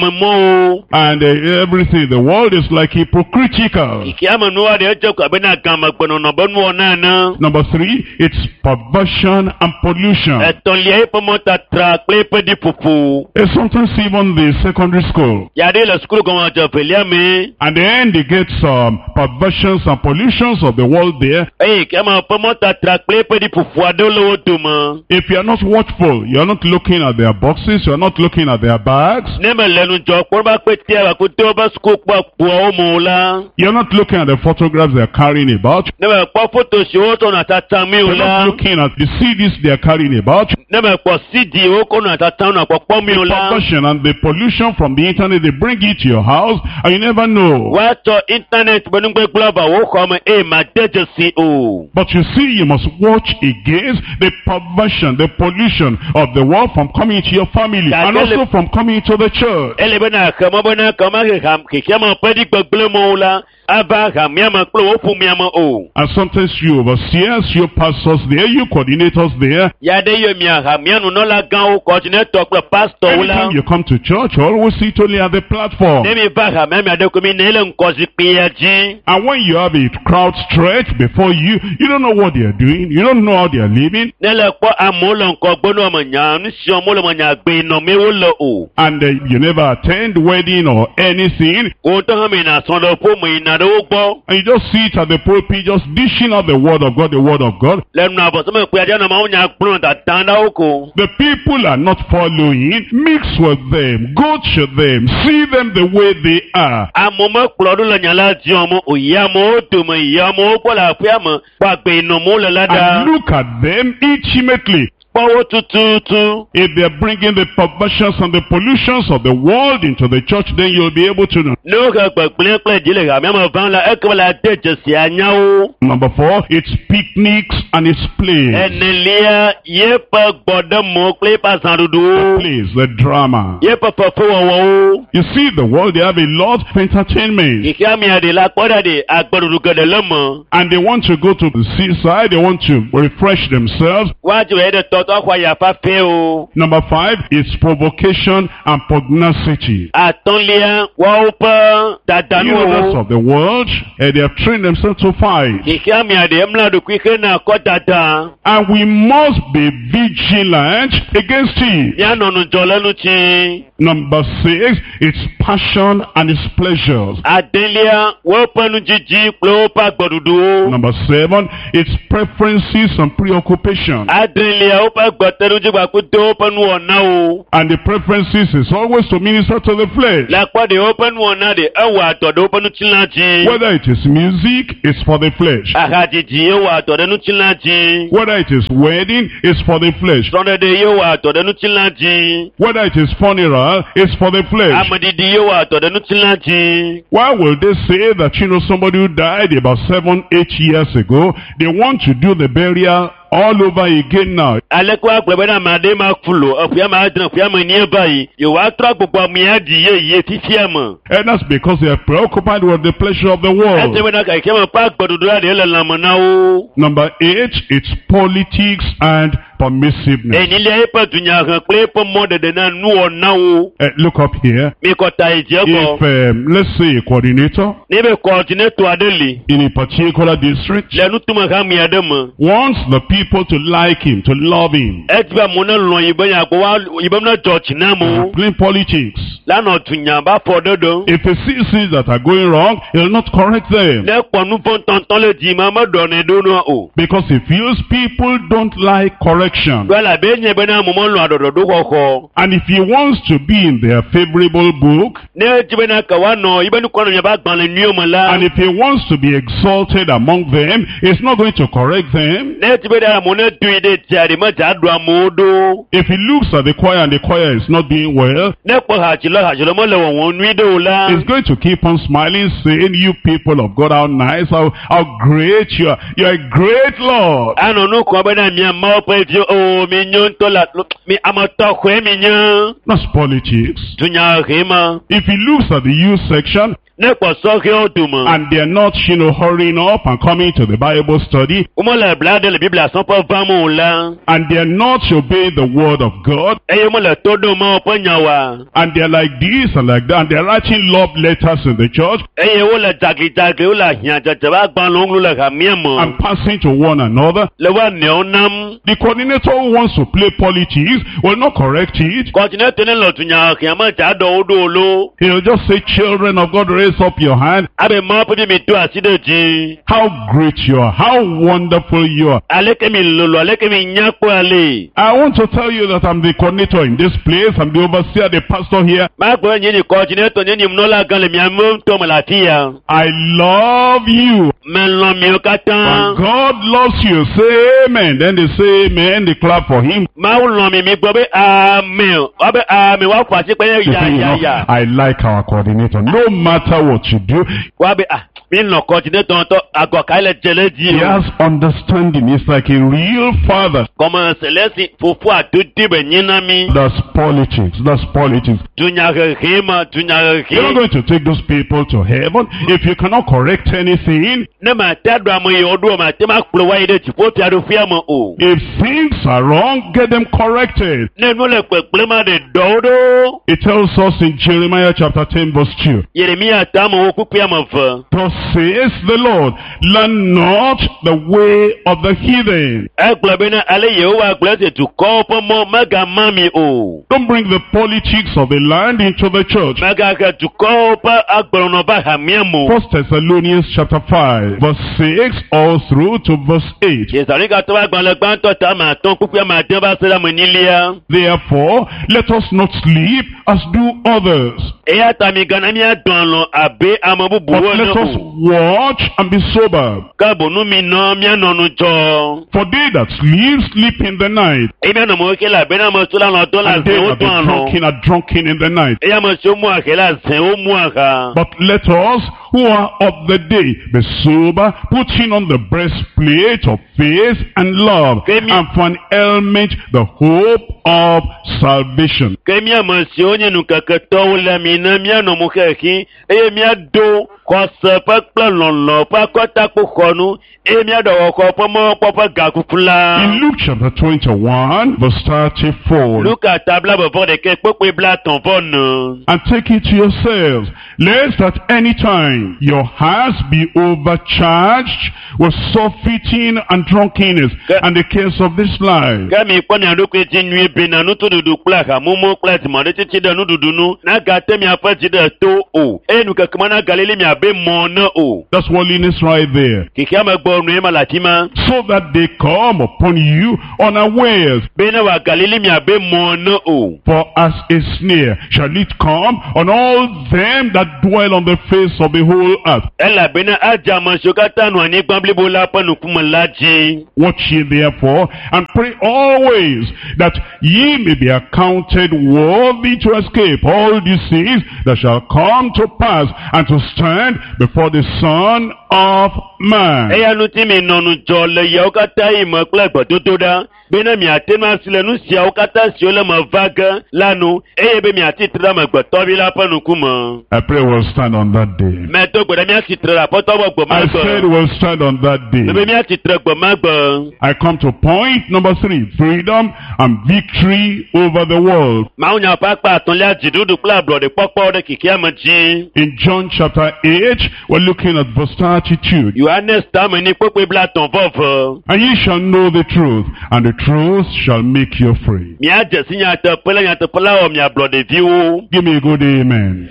ayememɔwo. And uh, everything, the world is like hypocritical. Xexea me nuwo ɖe edze ko abe na gamegbenɔnɔ be nuwɔna ene. Number three, it's perversion and pollution. Etɔ̃lia, eƒe mɔtatra kple eƒe ɖiƒoƒo. Uh, Sometimes even the secondary school. Ya ɖe le sukulu gɔmedze evelia me. And then they get some perversions and pollutions of the world there. Eye xexea me ƒe mɔtatra kple eƒe ɖiƒoƒo aɖewo le wo dome. If you are not watchful, you are not looking at their boxes, you are not looking at their bags, Ne mele ŋudzɔ kpɔ be akpetea bakutewo be sukukpɔ kpoawo me o la, you are not looking at the photographs they are carrying about, ne mekpɔ foto siwo wokɔ nɔ tatam mi you o are la, not looking at the C Ds they are carrying about, ne mekpɔ C D wokɔ nɔ tatam nɔ kpɔkpɔm mi o la, perversion and the pollution from the internet, they bring it to your house and you never know. woatsɔ internet be nugbegblẽ va wò xɔ me eye made dzesi o. But you see, you must watch against the perversion, the pollution of the world from coming to your family and also from coming to the church. Ele bena xe mɔ bena kama xexea xexea me ƒe ɖigbegblẽ mɔwo la ava hamea me kple wò ƒomea me o. And sometimes you overseers, you pastors there, you coordinators there. Ya ɖe yɔ mia hamea nunɔlagãwo, kɔdinetɔ kple pastɔwo la. Anytime you come to church, you always sit only at the platform. Ne mi va hamea mia ɖe ko mi ne le ŋgɔzikpuia dzi. And when you have a crowd stretched before you, you don't know what they are doing, you don't know how they are living, Ne le kpɔ amewo le ŋgɔgbe ne wɔme nya nu si wɔm wole me nya gbe nɔmee wole o. and uh, you never attend wedding or anything, Wo ŋutɔ hã meyina srɔ̃ɖeƒe meyina ɖe wo gbɔ. and you just sit at the pulpit just dishing out the word of God, the word of God. Le nua vɔsɔmekpea dzi anɔ mawu nya gblɔm dadam ɖe wo ko. The people are not following. Mix with them, go to them, see them the way they are. Amewo mekplɔ ɖo le nya la dzi wɔm o. Yi amewo dome, yi amewo gbɔ le aƒea me, kpɔ agbe nɔm wole la ɖa. And look at them intimately. Kpɔ kpɔ wo tututu. If they're bringing the perversions and the pollutions of the world into the church, then you'll be able to know. Ne wohe gbegblẽ kple dzi le hamea me vam la, ekema la de dzesi anya wo. Number four, it's picnics and its plays. Enelia, yeƒe gbɔɖemewo kple yeƒe azãɖuɖuwo. Plays, the drama. Yeƒe fefewɔwɔwo. You see, the world, they have a lot of entertainment. Xexea mea ɖe la kpɔ ɖa ɖe agbeɖuɖu geɖe le me. And they want to go to the seaside, they want to refresh themselves. Woadzi wɔ ɖe tɔtɔ axɔ aya fafɛ o. Number five is provocation and pugnacity. Atɔ̃lia, woawo ƒe The leaders dadanuwo. of the world, eh, they have trained themselves to fight. Xexea mea ɖe emla ɖokui hena kɔ dada. And we must be vigilant against it. Míanɔ ŋudzɔ le ŋuti. Number six, it's passion and its pleasures. Adelia, woƒe nudzidzi kple woƒe agbeɖuɖuwo. Number seven, it's preferences and preoccupation. Adelia, woƒe gbetenudzigbakudo woƒe nuwɔnawo. And the preferences is always to minister to the flesh. Le akpɔ ɖe woƒe nuwɔna ɖe ewɔa dɔ ɖe woƒe ŋutilã dzi. Whether it is music, it's for the flesh. Ahadzidzi ye wɔa dɔ ɖe ŋutilã dzi. Whether it is wedding, it's for the flesh. Srɔ̃ɖeɖe ye wɔa dɔ ɖe ŋutilã dzi. Whether it is funeral, it's for the flesh. Ameɖiɖi ye wɔa dɔ ɖe ŋutilã dzi. Why will they say that, you know, somebody who died about seven, eight years ago, they want to do the burial all over again now? Aleke woagblɔ bena ame aɖe ma ku lo, eƒea me adre, eƒea me enyi va yi, yewoatrɔ agbugbɔ amea ɖi yeye fifia me. And that's because they are preoccupied with the pleasure of the Ese world. bena xexea me ƒe agbeɖuɖu la ɖe le lãme na wo. Number eight, it's politics and permissiveness. Enyilia eƒe dunyahe kple eƒe mɔɖeɖe na nuwɔnawo. Uh, look up here. Mikɔ ta yi dzi If, egbɔ. um, let's say, a coordinator Ne be coordinator aɖe li in a particular district le nutume hame aɖe me. wants the people to like him, to love him, Edi be amewo ne lɔ̃ yi be nyagbo wa yi be ne dzɔ dzi na amewo. playing politics. La nɔ dunya ba fɔ ɖe ɖo. If he sees things that are going wrong, he'll not correct them. Ne kpɔ nu vɔ̃ tɔntɔn le dzi ma meɖɔ nɛ ɖo nua o. Because he feels people don't like correction. Ɖo elabe enye bena amewo melɔ̃a ɖɔɖɔɖo xɔxɔ. And if he wants to be in their favorable book, Ne edzi bena ke woanɔ yi be nukɔ nɔ miaƒe agbalẽ nyuiwo me la. and if he wants to be exalted among them, he's not going to correct them. Ne edzi be ɖe amewo ne doe ɖe dzia ɖe medza ɖo amewo ɖo. If he looks at the choir and the choir is not doing well, Ne kpɔ hadzilɔ hadzilɔ mele wɔwɔm nyui ɖe o la. he's going to keep on smiling, saying, you people of God, how nice, how, how great you are. You're a great Lord. Anɔ nu kɔm bena mia Mawu ƒe viwo o mi nyo ŋutɔ la mi ame tɔxɔe mi nye. That's politics. Dunyahe ma. If he looks at the youth section Ne kpɔ sɔhɛwo dome. and they're not, you know, hurrying up and coming to the Bible study, Womele bla ɖe le Biblia sɔƒe vam o la. and they're not obeying the word of God, Eye womele to ɖom Mawu ƒe nya oa. and they're like this and like that, and they're writing love letters in the church Eye wole dzaglidzagli wole ahiãdzedze ƒe agbalẽwo ŋlɔm le hamea me. and passing to one another. Le woa nɔewo nam. The coordinator who wants to play politics will not correct it. Kɔdinetɔ ne le dunyahea medza ɖɔ wo ɖo o lo. He'll just say, children of God, raise up your hand. Abe Mawu ƒe vi mi do asi ɖe dzi. How great you are. How wonderful you are. Aleke mi lolo, aleke mi nya kpɔ ale. I want to tell you that I'm the coordinator in this place. I'm the overseer, the pastor here. Magblɔ nye ni kɔdinetɔ nye ni munɔla gã le mia me ŋutɔ me le afi ya. I love you. Melɔ̃ miwo katã. And God loves you. Say amen. Then they say amen. They clap for him. Mawu lɔ̃ mi mi gbɔ be amen. Woabe amen woaƒo asi kpe They ya say, you ya know, ya. I like our coordinator. No matter what you do, Woabe ah mi lɔ̃ kɔdinetɔ ŋutɔ agɔ ka le dze le dzi he o. has understanding. He's like a real father. Gɔme selesi fofo adodo be nyi na mi. That's politics. That's politics. Dunyahehe ma You're not dunyahehe. going to take those people to heaven if you cannot correct anything. Ne ma te ɖo ame yiwo ɖo ma te ma kplɔ wa yi ɖe dziƒo fiaɖuƒea me o. If things are wrong, get them corrected. Ne nu le kpekple ma ɖe ɖɔwo ɖo. It tells us in Jeremiah chapter ten verse two. Yeremia ta amewo kpukpui ame eve. Thus says the Lord, learn not the way of the heathen. Egblɔ bena ale Yehowa gblɔ esi dukɔwo ƒe mɔ megama mi o. Don't bring the politics of the land into the church. Megahe dukɔwo ƒe agbenɔnɔ va hamea me o. First Thessalonians chapter five, verse six all through to verse eight. Yesanikatɔ ƒe agbalẽ gbãtɔ ta ame atɔ̃ kpukpui ame ade va se ɖe ame enyilia. Therefore, let us not sleep as do others, Eya ta migana míadɔ alɔ̃ abe ame But bubuwo let ene us o. watch and be sober. Ke bonu mi nɔ míanɔ nu dzɔ. For they that sleep, sleep in the night. Eye míanɔ me ke le abe na ame siwo le alɔ dɔm le And they azẽwo that be dɔm alɔ. drunken are drunken in the night. Eye ame siwo mu ahe le azẽwo mu aha. But let us who are of the day be sober, putting on the breastplate of faith and love, Kemi- and for an helmet the hope of salvation. Ke mí ame siwo nye nukeketɔwo le mi ne míanɔ mo xexi eye míado xɔse ƒe kple lɔlɔ ƒe akɔtakpoxɔnu eye míaɖɔ xɔxɔ ƒe mɔkpɔ ƒe gakuku la. In Luke chapter twenty-one, verse thirty-four, Luka ta blaeve vɔ ɖekɛ kpekpe blaetɔ̃ vɔ ne. and take it to yourselves, lest at any time your hearts be overcharged with surfeiting and drunkenness Ke- and the cares of this life. Ke mi kpɔ mia ɖokui dzi nyuie bena nutoɖuɖu kple ahamumu kple dzimaɖitsitsi ɖe nuɖuɖu nu nagate miaƒe dzi ɖe to o eye nukeke ma nagalili miabe mɔ ne o. That's worldliness right there. Xexeame gbɔ nue ma le afi ma. So that they come upon you unawares. Bena wòagalili miabe mɔ ne o. For as a snare shall it come on all them that dwell on the face of the whole earth. Elabena adze ame siwo katã nɔ anyigba blibo la ƒe ŋkume la dzi. Watch ye therefore, and pray always that ye may be accounted worthy to escape all these things that shall come to pass, and to stand before the Son of Man. Eya ŋuti mi nɔ ŋudzɔ le yawo katã yi me kple gbedodoɖa bena miate ŋu asi le nu siawo katã siwo le me va ge la nu eye be miatsi tre ɖe amegbetɔvi la ƒe ŋkume. I pray we'll stand on that day. Medo gbe ɖe míatsi tre ɖe aƒetɔ gbɔ gbe ma I said gbe. we'll stand on that Mebe day. míatsi tre gbe ma gbe. I come to point number three, freedom and victory over the world. Mawunya ƒe akpa atɔ̃lia dziɖuɖu kple ablɔɖekpɔkpɔ ɖe xexeame dzi. In John chapter eight, we're looking at verse thirty-two. Yohanes tame ni kpekpe blaetɔ̃ vɔ eve. And ye shall know the truth, and the truth shall make you free. Míadze si nyateƒe la nyateƒe la wɔ mi ablɔɖeviwo. Give me a good amen.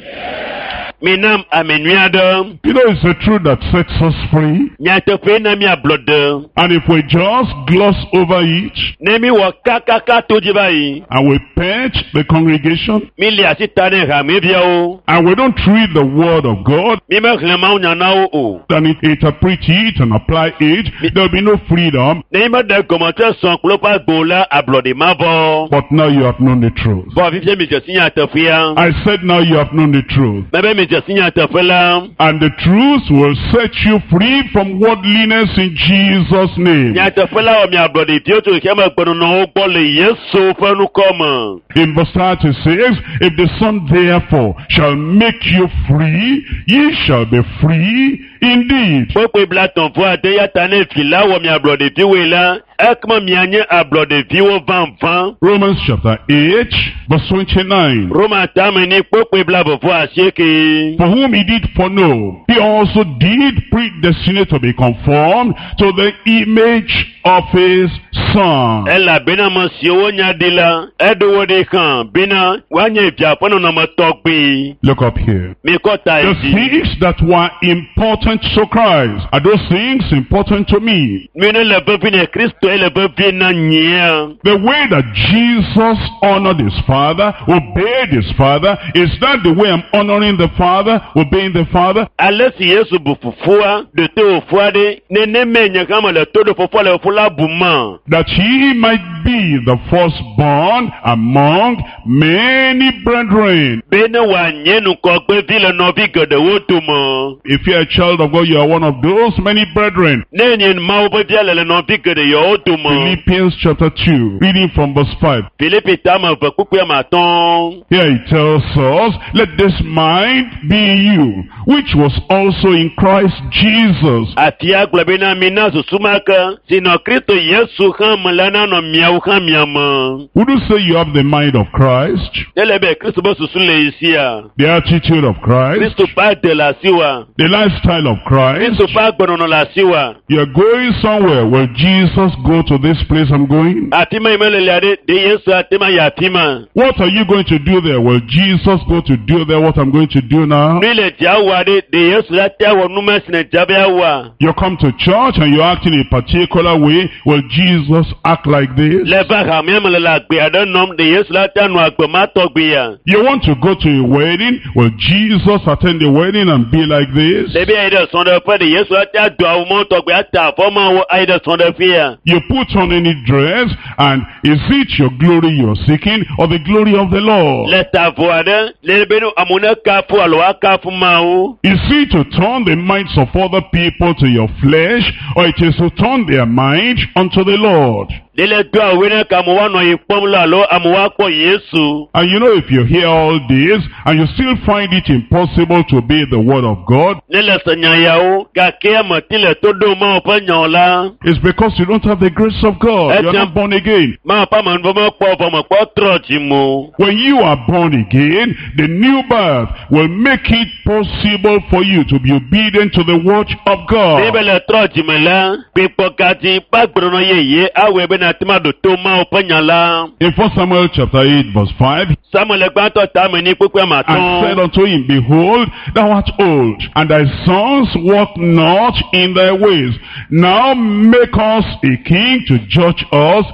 Minam ame nyui aɖe. You know, it's the truth that sets us free. Nyateƒe na mi ablɔɖe. And if we just gloss over it, Ne mi wɔ kakaka to dzi va yi. and we pet the congregation, Mi li asi ta ne hameviawo. and we don't read the word of God, Mi mexlẽ Mawunya na wo o. and interpret it and apply it, there'll be no freedom. Ne mi meɖe gɔmete sɔn kple woƒe agbo la ablɔɖe ma vɔ. But now you have known the truth. Vɔ fifia mi dze si nyateƒea. I said now you have known the truth. Mebe mi dze si nyateƒe la. And the truth will set you free from worldliness in Jesus' name. Nyateƒe la wɔ mi ablɔɖeviwo tso xexeame gbenɔnɔwo gbɔ le Yesu ƒe ŋkɔ me. In verse thirty-six, if the Son therefore shall make you free, ye shall be free indeed. Kpekpe blaetɔ̃ vɔ ade ya ta ne vi la wɔ mi ablɔɖeviwoe la, ekema mianye ablɔɖeviwo vavã. Romans chapter eight, verse twenty-nine. Roma tame ni kpekpe blaeve vɔ asieke. For whom he did foreknow, he also did predestinate to be conformed to the image of his Son. Elabena ame siwo nya ɖi la, eɖo wo ɖi hã bena woanye via ƒe nɔnɔme tɔgbi. Look up here. Mikɔ ta The yi dzi. things that were important to Christ are those things important to me. Mi ne le vevi ne Kristo ye le vevi na nyea. The way that Jesus honored his Father, obeyed his Father, is that the way I'm honoring the Father, obeying the Father? Ale si Yesu bu fofoa, ɖe to fofoa ɖe, nenemae nye hã mele to ɖo fofoa le fofo la bum ma. That he might be the firstborn among many brethren. Bene wòanye ŋgɔgbevi le nɔvi geɖewo dome. If you're a child of God, you are one of those many brethren. Ne nye Mawu ƒe via le le nɔvi geɖe yawo dome. Philippians chapter two, reading from verse five. Filipi tame eve kpukpui ame atɔ̃. Here it tells us, let this mind be in you, which was also in Christ Jesus. Afia gblɔ bena mina susu ma ke si nɔ Kristo Yesu hã me la nanɔ miawo hã mia me. Would you say you have the mind of Christ, Ele be Kristo ƒe susu le yi sia. the attitude of Christ, Kristo ƒe ade le asiwòa. the lifestyle of Christ? Kristo ƒe agbenɔnɔ le asiwòa. You're going somewhere. Will Jesus go to this place I'm going? Afi ma yi mele lia ɖe, ɖe Yesu ate ma yi afi ma. What are you going to do there? Will Jesus go to do there what I'm going to do now? Nu yi le dzia wɔa ɖe, ɖe Yesu la te awɔ nu ma si ne dzia be awɔa. You come to church and you act in a particular way. Will Jesus act like this? this? Le va hamea me le le agbe aɖe nɔm ɖe Yesu la te anɔ agbe ma tɔgbea. You want to go to a wedding? Will Jesus attend the wedding and be like this? Ɖe be ayi ɖe srɔ̃ɖeƒe ɖe Yesu la te ado awu mɔ tɔgbe ata avɔ mawo ayi ɖe srɔ̃ɖeƒea. You put on any dress, and is it your glory you're seeking or the glory of the Lord? Le ta avɔ aɖe le be ne amewo ne kafu alo woakafu Mawu. Is it to turn the minds of other people to your flesh, or it is to turn their mind unto the Lord? Ɖe le do awu ne ka amewo woanɔ yi kpɔm la alo amewo woakpɔ Yesu. And you know, if you hear all this and you still find it impossible to obey the word of God, Ne le se nya yawo gake ame ti le to ɖom Mawu ƒe nyawo la. it's because you don't have the grace of God. You are not born again. Mawu ƒe amenuveve mekpɔ vɔ mekpɔ trɔ dzi mo. When you are born again, the new birth will make it possible for you to be obedient to the word of Ne God. be le trɔ dzime la, gbekpɔgadzi ƒe agbenɔnɔ yeye awɔe be nàte ŋu aɖo to Mawu ƒe nya la. In First Samuel chapter eight verse five, Samuel gbãtɔ tame ni kpukpui ame and said atɔ̃. unto him, Behold, thou art old, and thy sons walk not in thy ways. Now make us a king to judge us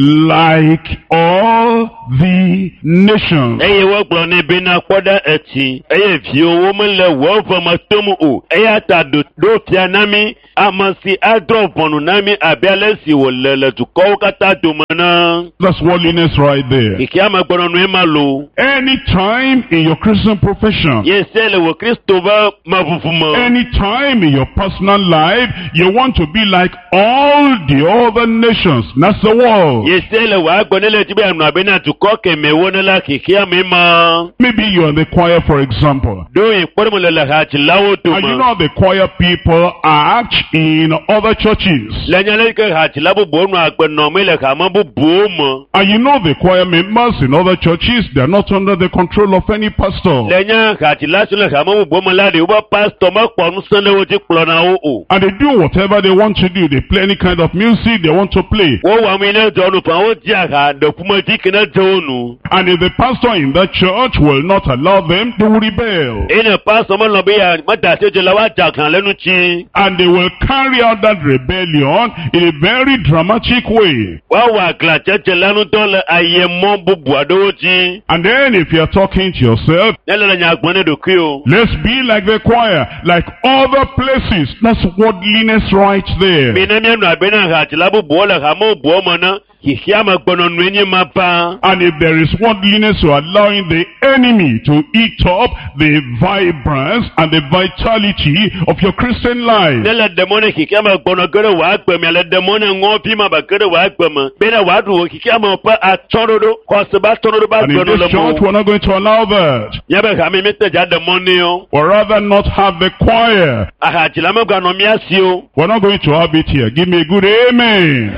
like all the nations. Eye wogblɔ nɛ bena kpɔ ɖe etsi eye viwòwo mele wò veme tom o. Eya ta ɖo ɖo fia na mí ame si adrɔ̃ ʋɔnu na mí abe ale si wòle le dukɔwo katã dome ne. That's worldliness right there. Xexea me gbenɔnɔe ma lo. Any time in your Christian profession, Ye se le wò Kristo ƒe meʋuʋu me. any time in your personal life, you want to be like all the other nations. That's the world. Ye se le wò agbe ne le dzi be yeanɔ abe na dukɔ kemɛwo ne la xexea me ma. Maybe you're in the choir, for example. Ɖo yi kpɔɖeŋu le le hadzilawo And you dome. know how the choir people act in other churches. Le nya le yi ke hadzila bubuwo nɔ agbe nɔm le hame bubuwo me. And you know the choir members in other churches, they are not under the control of any pastor. Le nya hadzila siwo le hame bubuwo me la ɖe woƒe pastɔ mekpɔ ŋusẽ ɖe wo dzi kplɔna wo o. And they do whatever they want to do. They play any kind of music they want to play. Wowɔ ame yi ne dze wo nu faa wodzia ha ɖe ƒomedzi ke ne dze wo nu. And if the pastor in that church will not allow them, they will rebel. Eye ne pastɔ melɔ̃ be ya meda asi dzi la woadze aglã le ŋuti. And they will carry out that rebellion in a very dramatic way. Woawɔ aglãdzedze la ŋudɔ le ayemɔ bubu aɖewo dzi. And then if you're talking to yourself, Ne le le nya gblɔm ne ɖokuiwò. let's be like the choir, like other places. That's worldliness right there. Mina míanɔ abe na hadzila bubuwo le hame bubuwo me ne xexea me gbenɔnɔe nye ma va. And if there is worldliness, you're allowing the enemy to eat up the vibrance and the vitality of your Christian life. Ne le ɖe mɔ ne xexea me gbɔnɔ ge ɖe wò agbe me, le ɖe mɔ ne ŋɔvi ma be ge ɖe wò agbe me, bena wòaɖu wò xexea me ƒe atsɔɖoɖo, xɔse be atsɔɖoɖo be And in agbenɔ le this church, mɔ. we're not going to allow that. Míabe hame míete dza ɖe mɔ nɛ o. We'd rather not have the choir. Ahadzila meganɔ mía si o. We're not going to have it here. Give me a good amen.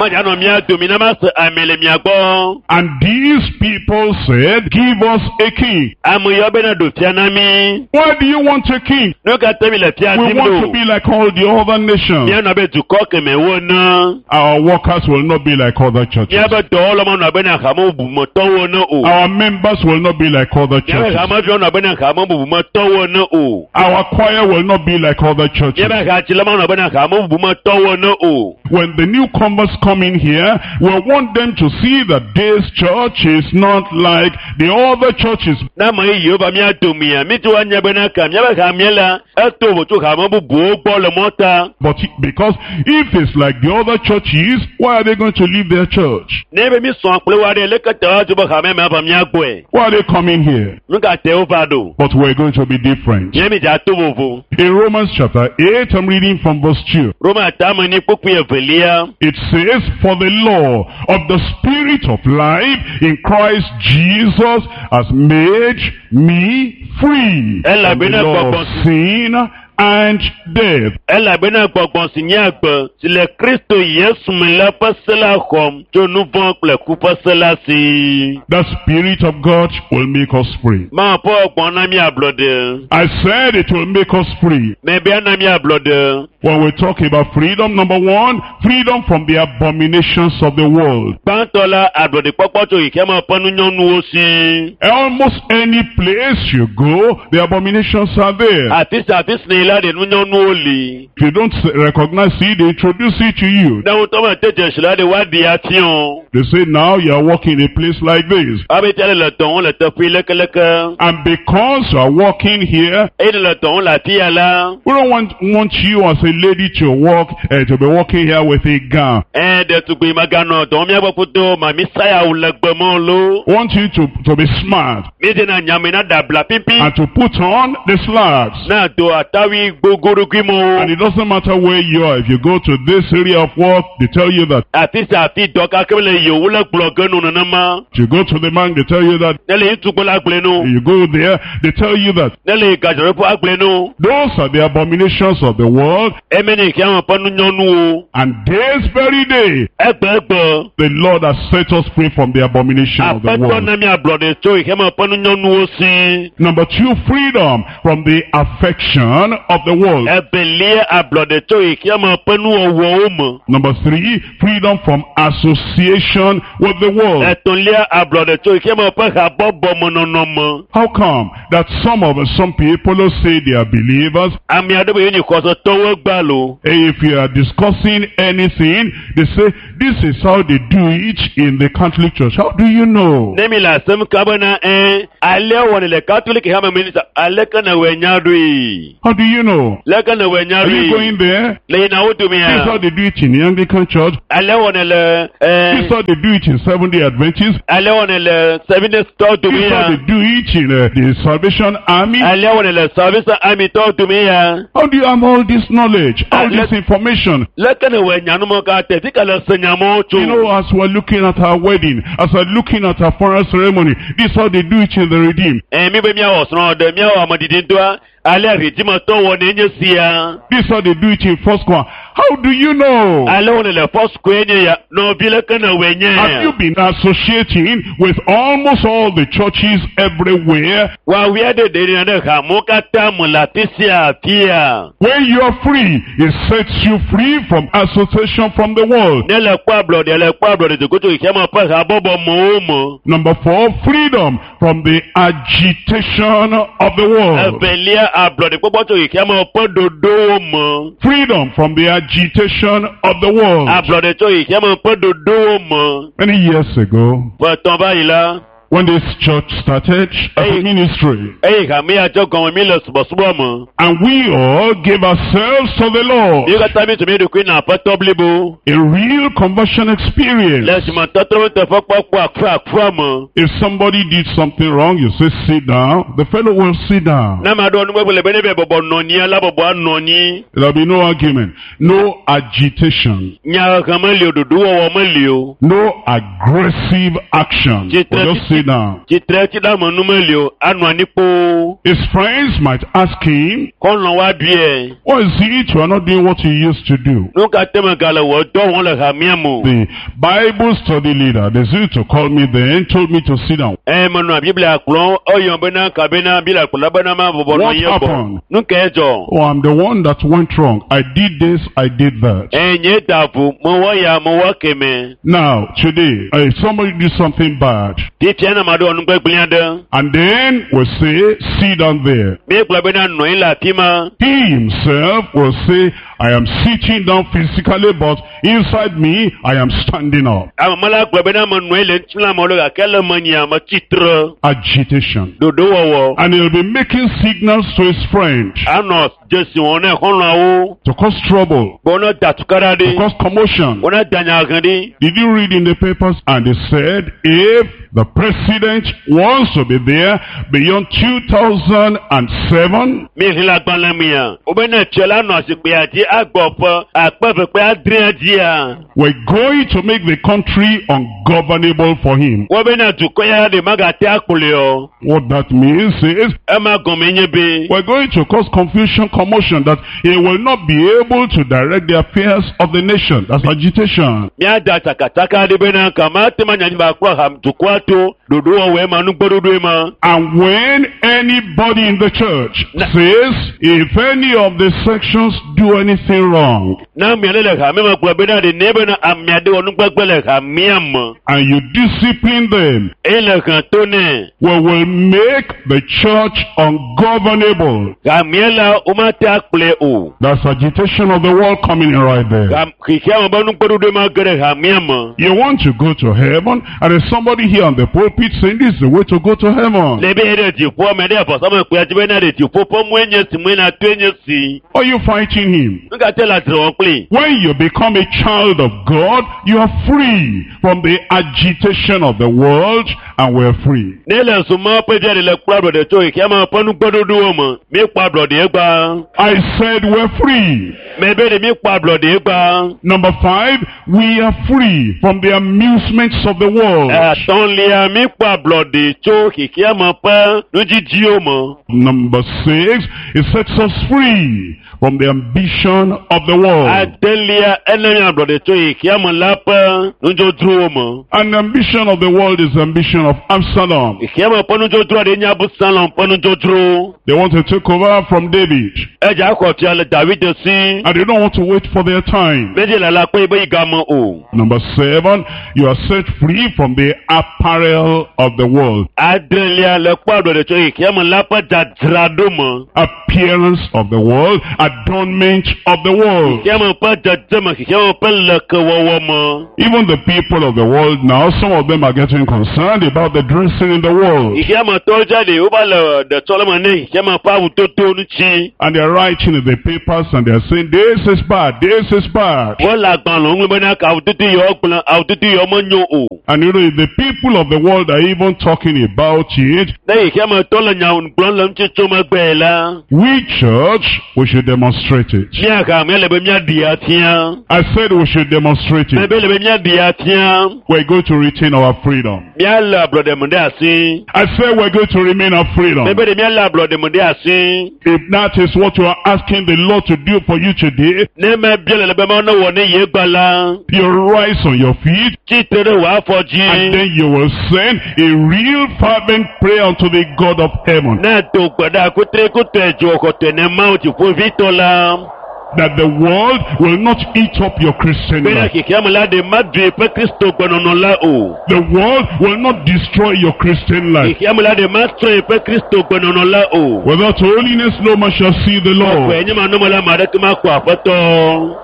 Medza nɔ mía domi ne mase ame le mia gbɔ. And these people said, give us a king. Ame yawo bena ɖo fia na mí. Why do you want a king? Nu ka te mi le fia We dim want to ɖo? be like all the other nations. Míanɔ abe dukɔ kemɛwo ene. Our workers will not be like other churches. Míabe dɔwɔlawo manɔ abe na hame bubumetɔwo ene o. Our members will not be like other Míabe churches. hameviwo nɔ abe na hame bubumetɔwo ene o. Our choir will not be like other churches. Míabe hadzila manɔ abe na hame bubumetɔwo ene o. When the newcomers come in here, we want them to see that this church is not like the other churches. Ne ame yeyewo va mía domea, mídi woanya bena ka míabe hamea la, eto vovo tso hame bubuwo gbɔ le mɔta. But because if it's like the other churches, why are they going to leave their church? Ne be mísɔ̃ kple wo aɖe, leke te woadzo be hamea me ava mía gbɔe? Why are they coming here? Nu ka te wova ɖo? But we're going to be different. Míe mi dza to vovo. In Romans chapter eight, I'm reading from verse two. Roma tame ni kpukpui evelia. It says, For the law of the Spirit of life in Christ Jesus has made me free from the law of sin and death. Elabena gbɔgbɔ si nye agbe si le Kristo Yesu me la ƒe se la xɔm tso nu vɔ̃ kple ku ƒe se la si. The Spirit of God will make us free. Mawu ƒe gbɔgbɔ na mí ablɔɖe. I said it will make us free. Mebia na mí ablɔɖe. When we talk about freedom, number one, freedom from the abominations of the world. Gbãtɔ la, ablɔɖekpɔkpɔ tso xexeame ƒe nunyɔnuwo si. Almost any place you go, the abominations are there. Afi sia afi si nèyi la ɖe nunyɔnuwo li. If you don't recognize it, they introduce it to you. Ne wotɔ me te dzesi la ɖe woaɖi afiɔ. They say now you are working in a place like this. Abe tia le le dɔ wɔm le teƒe lekeleke. And because you are working here, Eye ne le dɔ wɔm le afi ya la. we don't want, want you as a lady to work, uh, to be working here with a gown. Ɛ ɖetugbui meganɔ dɔ wɔm míagbɔ kudo mami sayawu le gbemɔ lo. We want you to, to be smart Mi dina nyame na dabla pipi. and to put on the slacks. Na do atawi gbogbodogui And mɔwo. it doesn't matter where you are. If you go to this area of work, they tell you that. Afi sia afi dɔ kake le yewo le gblɔ ge nu nenema. If you go to the bank, they tell you that. Ne le yi tukpo la gblẽ nu. You go there, they tell you that. Ne le yi gadzraɖoƒe agblẽ nu. Those are the abominations of the world. Eme ne xexea me ƒe nunyɔnuwo. And this very day, Egbegbe. the Lord has set us free from the abomination of the Aƒetɔ world. na mi ablɔɖe tso xexea me ƒe nunyɔnuwo si. Number two, freedom from the affection of the world. Evelia ablɔɖe tso xexea me ƒe nuwɔwɔwo me. Number three, freedom from association with the world. Etɔ̃lia ablɔɖe tso xexea me ƒe habɔbɔmenɔnɔ me. How come that some of us, some people who say they are believers, Ame aɖewo yi nye xɔsetɔwo gba lo. if you are discussing anything, they say, this is how they do it in the Catholic Church. How do you know? Ne mi le asem ka bena ɛ alea wɔnɛ le katolik hame me nisa aleke ne wɔ nya ɖoe. How do you know? Leke ne wɔ nya Are you ɖoe. going there? Le yina wo This is domea. how they do it in the Anglican Church. Alea wɔnɛ le This is ɛ how they do it in Seventh-day Adventists. alea wɔnɛ le Seventh-day tɔ This is how domea. they do it in uh, the Salvation Army. Alea wɔnɛ le Salvation Army tɔ domea. How do you have all this knowledge, all Uh, this let- information? Leke ne wɔ nya numɔ ka tɛ fi ka le se nyamɔwo tso. You know, as we're looking at our wedding, as we're looking at our funeral ceremony, this is how they do it in the Redeemed. Ɛ mi be miawɔ srɔ̃ ɖe miawɔ amedidi ŋutɔa alea ridimetɔ wɔ ne nye sia. This is how they do it in First Square. How do you know? Ale wɔnɛ le Foursquare nye ya nɔvi leke ne wɔ nye. Have you been associating with almost all the churches everywhere? Wawia ɖe ɖe ɖe ɖe hamewo katã me le afi sia afia. When you are free, it sets you free from association from the world. Ne le kpɔ ablɔɖe le kpɔ ablɔɖe dzogoto xexea me ƒe habɔbɔ mewo me. Number four, freedom from the agitation of the world. Evelia ablɔɖe kpɔkpɔ tso xexea me ƒe ɖoɖowo me. Freedom from the agitation of the world. Ablɔɖe tso xexea me ƒe ɖoɖowo me. Many years ago, Ƒe etɔ̃ va yi la, when this church started as a Hey. ministry, eye hame ya tsɔ gɔme mi le subɔsubɔ me. and we all gave ourselves to the Lord, Mi katã mi tu mi ɖokui na aƒetɔ blibo. a real conversion experience. Le dzimetɔtrɔ teƒe kpɔkpɔ akura me. If somebody did something wrong, you say, sit down. The fellow will sit down. Ne ame aɖewo nugbegbe le be ne be bɔbɔ nɔ anyi la bɔbɔ anɔ anyi. There'll be no argument, no agitation, Nyahehe meli o, ɖoɖowɔwɔ meli o. no aggressive action. We'll just sit down. Tsitretsiɖeamenu meli o, anɔ anyi kpoo. His friends might ask him, Xɔlɔ̃ wa biɛ. why is it you are not doing what you used to do? Nu ka te megale wɔ dɔ wɔm le hamea me o? The Bible study leader, they used to call me then, told me to sit down. Ɛ menɔ Biblia kplɔm, eyɔm bena kabena Biblia kplɔla bena ma bɔbɔ nɔ What anyi gbɔ. happened? Nu kae dzɔ? Oh, I'm the one that went wrong. I did this, I did that. Ɛ nye da vo, mewɔ ya, mewɔ keme. Now, today, if somebody did something bad, Fifia ne ame aɖe wɔ nugbegblẽ aɖe, and then we say, sit down there. míegblɔ bena nɔ anyi le afi ma. He himself will say, I am sitting down physically, but inside me, I am standing up. Ame la gblɔ bena menɔ anyi le ŋutilã me o gake le menyia metsitre. Agitation. Ɖoɖowɔwɔ. And he'll be making signals to his friend Anɔ dzesi wɔm ne xɔlɔ̃awo. to cause trouble, Be wone da tukaɖa to ɖi. cause commotion. Wone da nyahehe ɖi. Did you read in the papers? And they said, if the president wants to be there beyond two thousand seven, Mi xlẽ agbalẽ mea. Wobe ne tse la nɔ zikpuia dzi agbɔ ƒe akpe eve kple adrea dzia. we're going to make the country ungovernable for him. Wobe ne dukɔ ya ɖe magate akplɔe o. What that means is, Ema gɔme nye be we're going to cause confusion, commotion, that he will not be able to direct the affairs of the nation. That's agitation. míada tsakatsaka ɖi bena kama te ma nyanyi ba kplɔ ham dukɔa to ɖoɖowɔwɔe ma nugbɔɖoɖoe ma. And when anybody in the church Na- says, if any of the sections do anything anything wrong Na ame aɖe le hame me gblɔ bena ɖe ne bena ame aɖe wɔ nugbegbe le hamea me and you discipline them, eye le hẽ to nɛ. we will make the church ungovernable. Hamea la womate akplɔe o. That's agitation of the world coming in right there. Ham- Xexea me be nugbeɖoɖo ma ge ɖe hamea me. You want to go to heaven, and there's somebody here on the pulpit saying this is the way to go to heaven. Le be ye ɖe dziƒoa me ɖe avɔsamlekpuia dzi bena ɖe dziƒo ƒe mɔe nye si mɔe na toe nye si. Are you fighting him? Nu ka te le adzre wɔm kpli? When you become a child of God, you are free from the agitation of the world, and we're free. Ne le zuma ƒe via ɖe le kplɔ ablɔɖe tso xexea me ƒe nugbeɖoɖowo me, míekpɔ ablɔɖe gba. I said we're free. Mɛ be ɖe míekpɔ ablɔɖe gba. Number five, we are free from the amusements of the world. Etɔ̃lia, míekpɔ ablɔɖe tso xexea me ƒe nudzidziwo me. Number six, it sets us free from the ambition of the world. Adelia, ena mí ablɔɖe tso xexea me la ƒe nudzodzrowo me. And the ambition of the world is the ambition of Absalom. Xexea me ƒe nudzodzro aɖe nye Absalom ƒe nudzodzowo. They want to take over from David. Edze akɔ fia le David si. And they don't want to wait for their time. Medze lala kpe be yi game o. Number seven, you are set free from the apparel of the world. Adrelia le kpɔ ablɔɖe tso xexea me la ƒe dzadzraɖo me. Appearance of the world, adornment of the world. Xexea me ƒe dzedzeme, xexea me ƒe lekewɔwɔ me. Even the people of the world now, some of them are getting concerned about the dressing in the world. Xexea me tɔwo dza ɖe wova le ɖetsɔleme ne xexea me ƒe awudodo ŋuti. And they're writing in the papers and they're saying, this is bad, this is bad. Wole agbalẽ ŋlɔm bena ka awudodo yawo gblẽ, awudodo yawo menyo o. And you know, if the people of the world are even talking about it, Ne xexea me tɔ le nya gblɔm le ŋuti tso megbe la, we church, we should demonstrate it. mía hame le be míaɖi afia. I said we should demonstrate it. Mebe le be míaɖi afia. We're going to retain our freedom. Míalé ablɔɖe me ɖe asi. I said we're going to remain our freedom. Mebe ɖe míalé ablɔɖe me ɖe asi. If that is what you are asking the Lord to do for you today, Ne mebia le le be Mawu newɔ ne ye gba la, you rise on your feet tsitre ɖe wò afɔ and dzi. then you will send a real fervent prayer unto the God of heaven Ne do gbe ɖa kutre kutɔe dzo kɔtɔe ne Mawu dziƒovitɔ la. that the world will not eat up your Christian Bena life. xexea me la ɖe maɖui ƒe Kristo gbenɔnɔ la o. The world will not destroy your Christian life. Xexea me la ɖe matrɔe ƒe Kristo gbenɔnɔ la o. Without holiness, no man shall see the Lord. Kɔe nye manɔme la, ame aɖeke makpɔ aƒetɔ.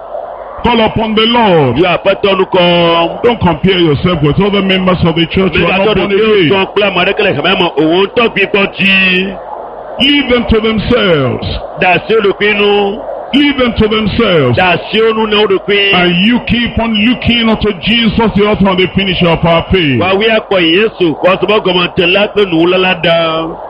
Call upon the Lord. Yɔ aƒetɔ nukɔ. Don't compare yourself with other members of the church who are Megatɔ not born ɖokuiwò again. sɔ kple ame aɖeke le hamea me o. Wò ŋutɔ gbigbɔ dzi. Leave them to themselves. Da asi wo ɖokui nu. Leave them to themselves. Da asi wo nu na wo ɖokui. And you keep on looking unto Jesus, the author and the finisher of our faith. Woawoe akpɔ Yesu xɔsebɔ gɔmetela kple nuwula la ɖa.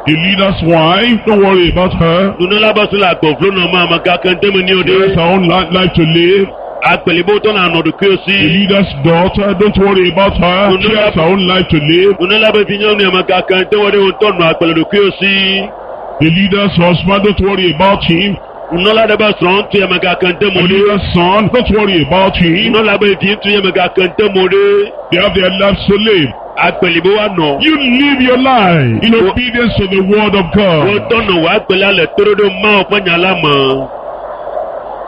The leader's wife, don't worry about her. Nunɔla be srɔ̃ le agbɔvlo nɔ ma ame gake ŋdeme ni o She has ɖe. her own li- life to live. Agbelibo tɔ na nɔ ɖokuiwo The si. leader's daughter, don't worry about her. She has her own life to live. Nunɔla be vinyɔnu ame gake ŋdeme ɖe wo ŋutɔ nɔ agbe le ɖokuiwo si. The leader's husband, don't worry about him. Nunɔla ɖe be srɔ̃ ŋutsu ame gake ŋdeme The ɖe. leader's son, don't worry about him. Nunɔla be vi ŋutsu ame gake ŋdeme ɖe. They have their lives to live. Agbelibo wa nɔ. You live your life in obedience to the word of Wo God. ŋutɔ nɔ wò agbe la le toɖoɖo Mawu ƒe nya la me.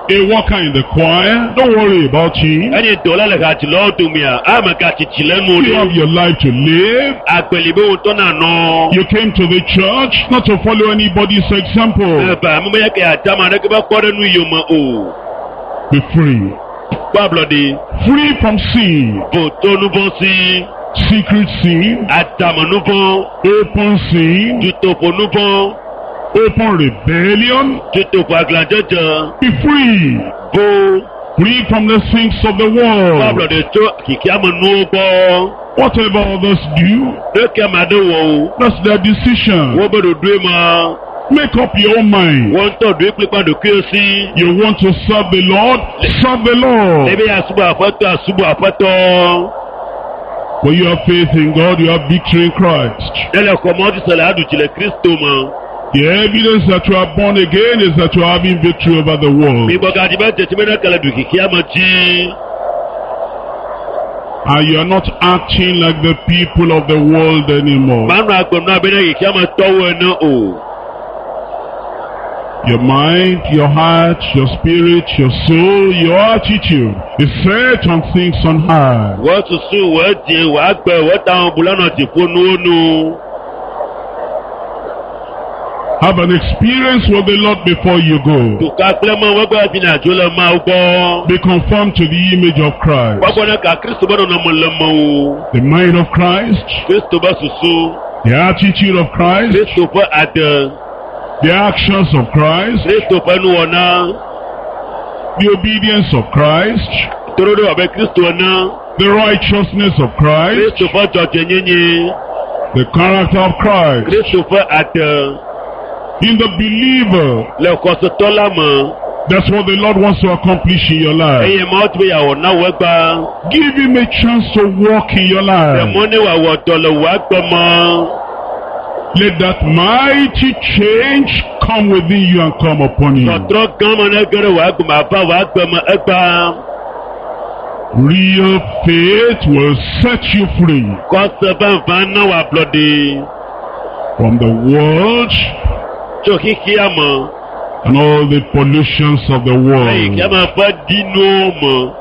A worker in the choir, don't worry about him. Enye dɔla le hadzilawo domea, ame gatsitsi le nu You have ɖe. your life to live. Agbelibo ŋutɔ na nɔ. You came to the church not to follow anybody's example. Eva ame ya ke adzame aɖeke be kpɔ ɖe nu yome o. Be free. Kpɔ ablɔɖe. Free from sin. Vo tso nuvɔ si. Secret sin. Adzame nuvɔ. Open sin. Dutoƒo nuvɔ. Open rebellion. Dutoƒo aglãdzedze. Be free. Vo. Free from the things of the Kpɔ world. ablɔɖe tso xexeame nuwo gbɔ. Whatever others do, Ne ke ame aɖe wɔ o. that's their decision. Wobe ɖoɖoe ma. Make up your own mind. Wo ŋutɔ ɖoe kplikpa ɖokuiwo si. You want to serve the Lord? Serve the Lord. Ebe asubɔ aƒetɔ asubɔ aƒetɔ. When you have faith in God, you have victory in Christ. Ne le xɔmɔ dzi se le aɖu dzi le Kristo me. The evidence that you are born again is that you are having victory over the world. Migbɔgadzi be dzesi be ne ke le ɖu xexeame dzi. And you are not acting like the people of the world anymore. Manɔ agbe nɔ abe ne xexeame tɔwo ene o. Your mind, your heart, your spirit, your soul, your attitude is set on things on high. Wò susu, wò dzi, wò agbe, wò tamebubu la nɔ dziƒonuwo nu. Have an experience with the Lord before you go. Duka kple Mawu egbe hafi nàdzo le Mawu gbɔ. Be conformed to the image of Christ. Gbɔgbɔ ne ka Kristo be nɔnɔme le mewò. The mind of Christ, Kristo be susu, the attitude of Christ, Kristo ƒe ade, the actions of Christ, Kristo ƒe nuwɔna, the obedience of Christ, toɖoɖo abe Kristo ene, the righteousness of Christ, Kristo ƒe dzɔdzɔenyenye, the character of Christ. Kristo ƒe ade In the believer, le xɔsetɔ la me. that's what the Lord wants to accomplish in your life. Eye Mawu di be yeawɔ na wò egbea. Give him a chance to walk in your Ɖe life. mɔ ne wòawɔ dɔ le wò agbe me. Let that mighty change come within you and come upon you. Tɔtrɔ gã ma ne ge ɖe wò agbe me ava wò agbe me egbea. Real faith will set you free Xɔse vavã na wò ablɔɖe from the world tso xexea me and all the pollutions of the eye world. xexea me ƒe ɖinuwo me.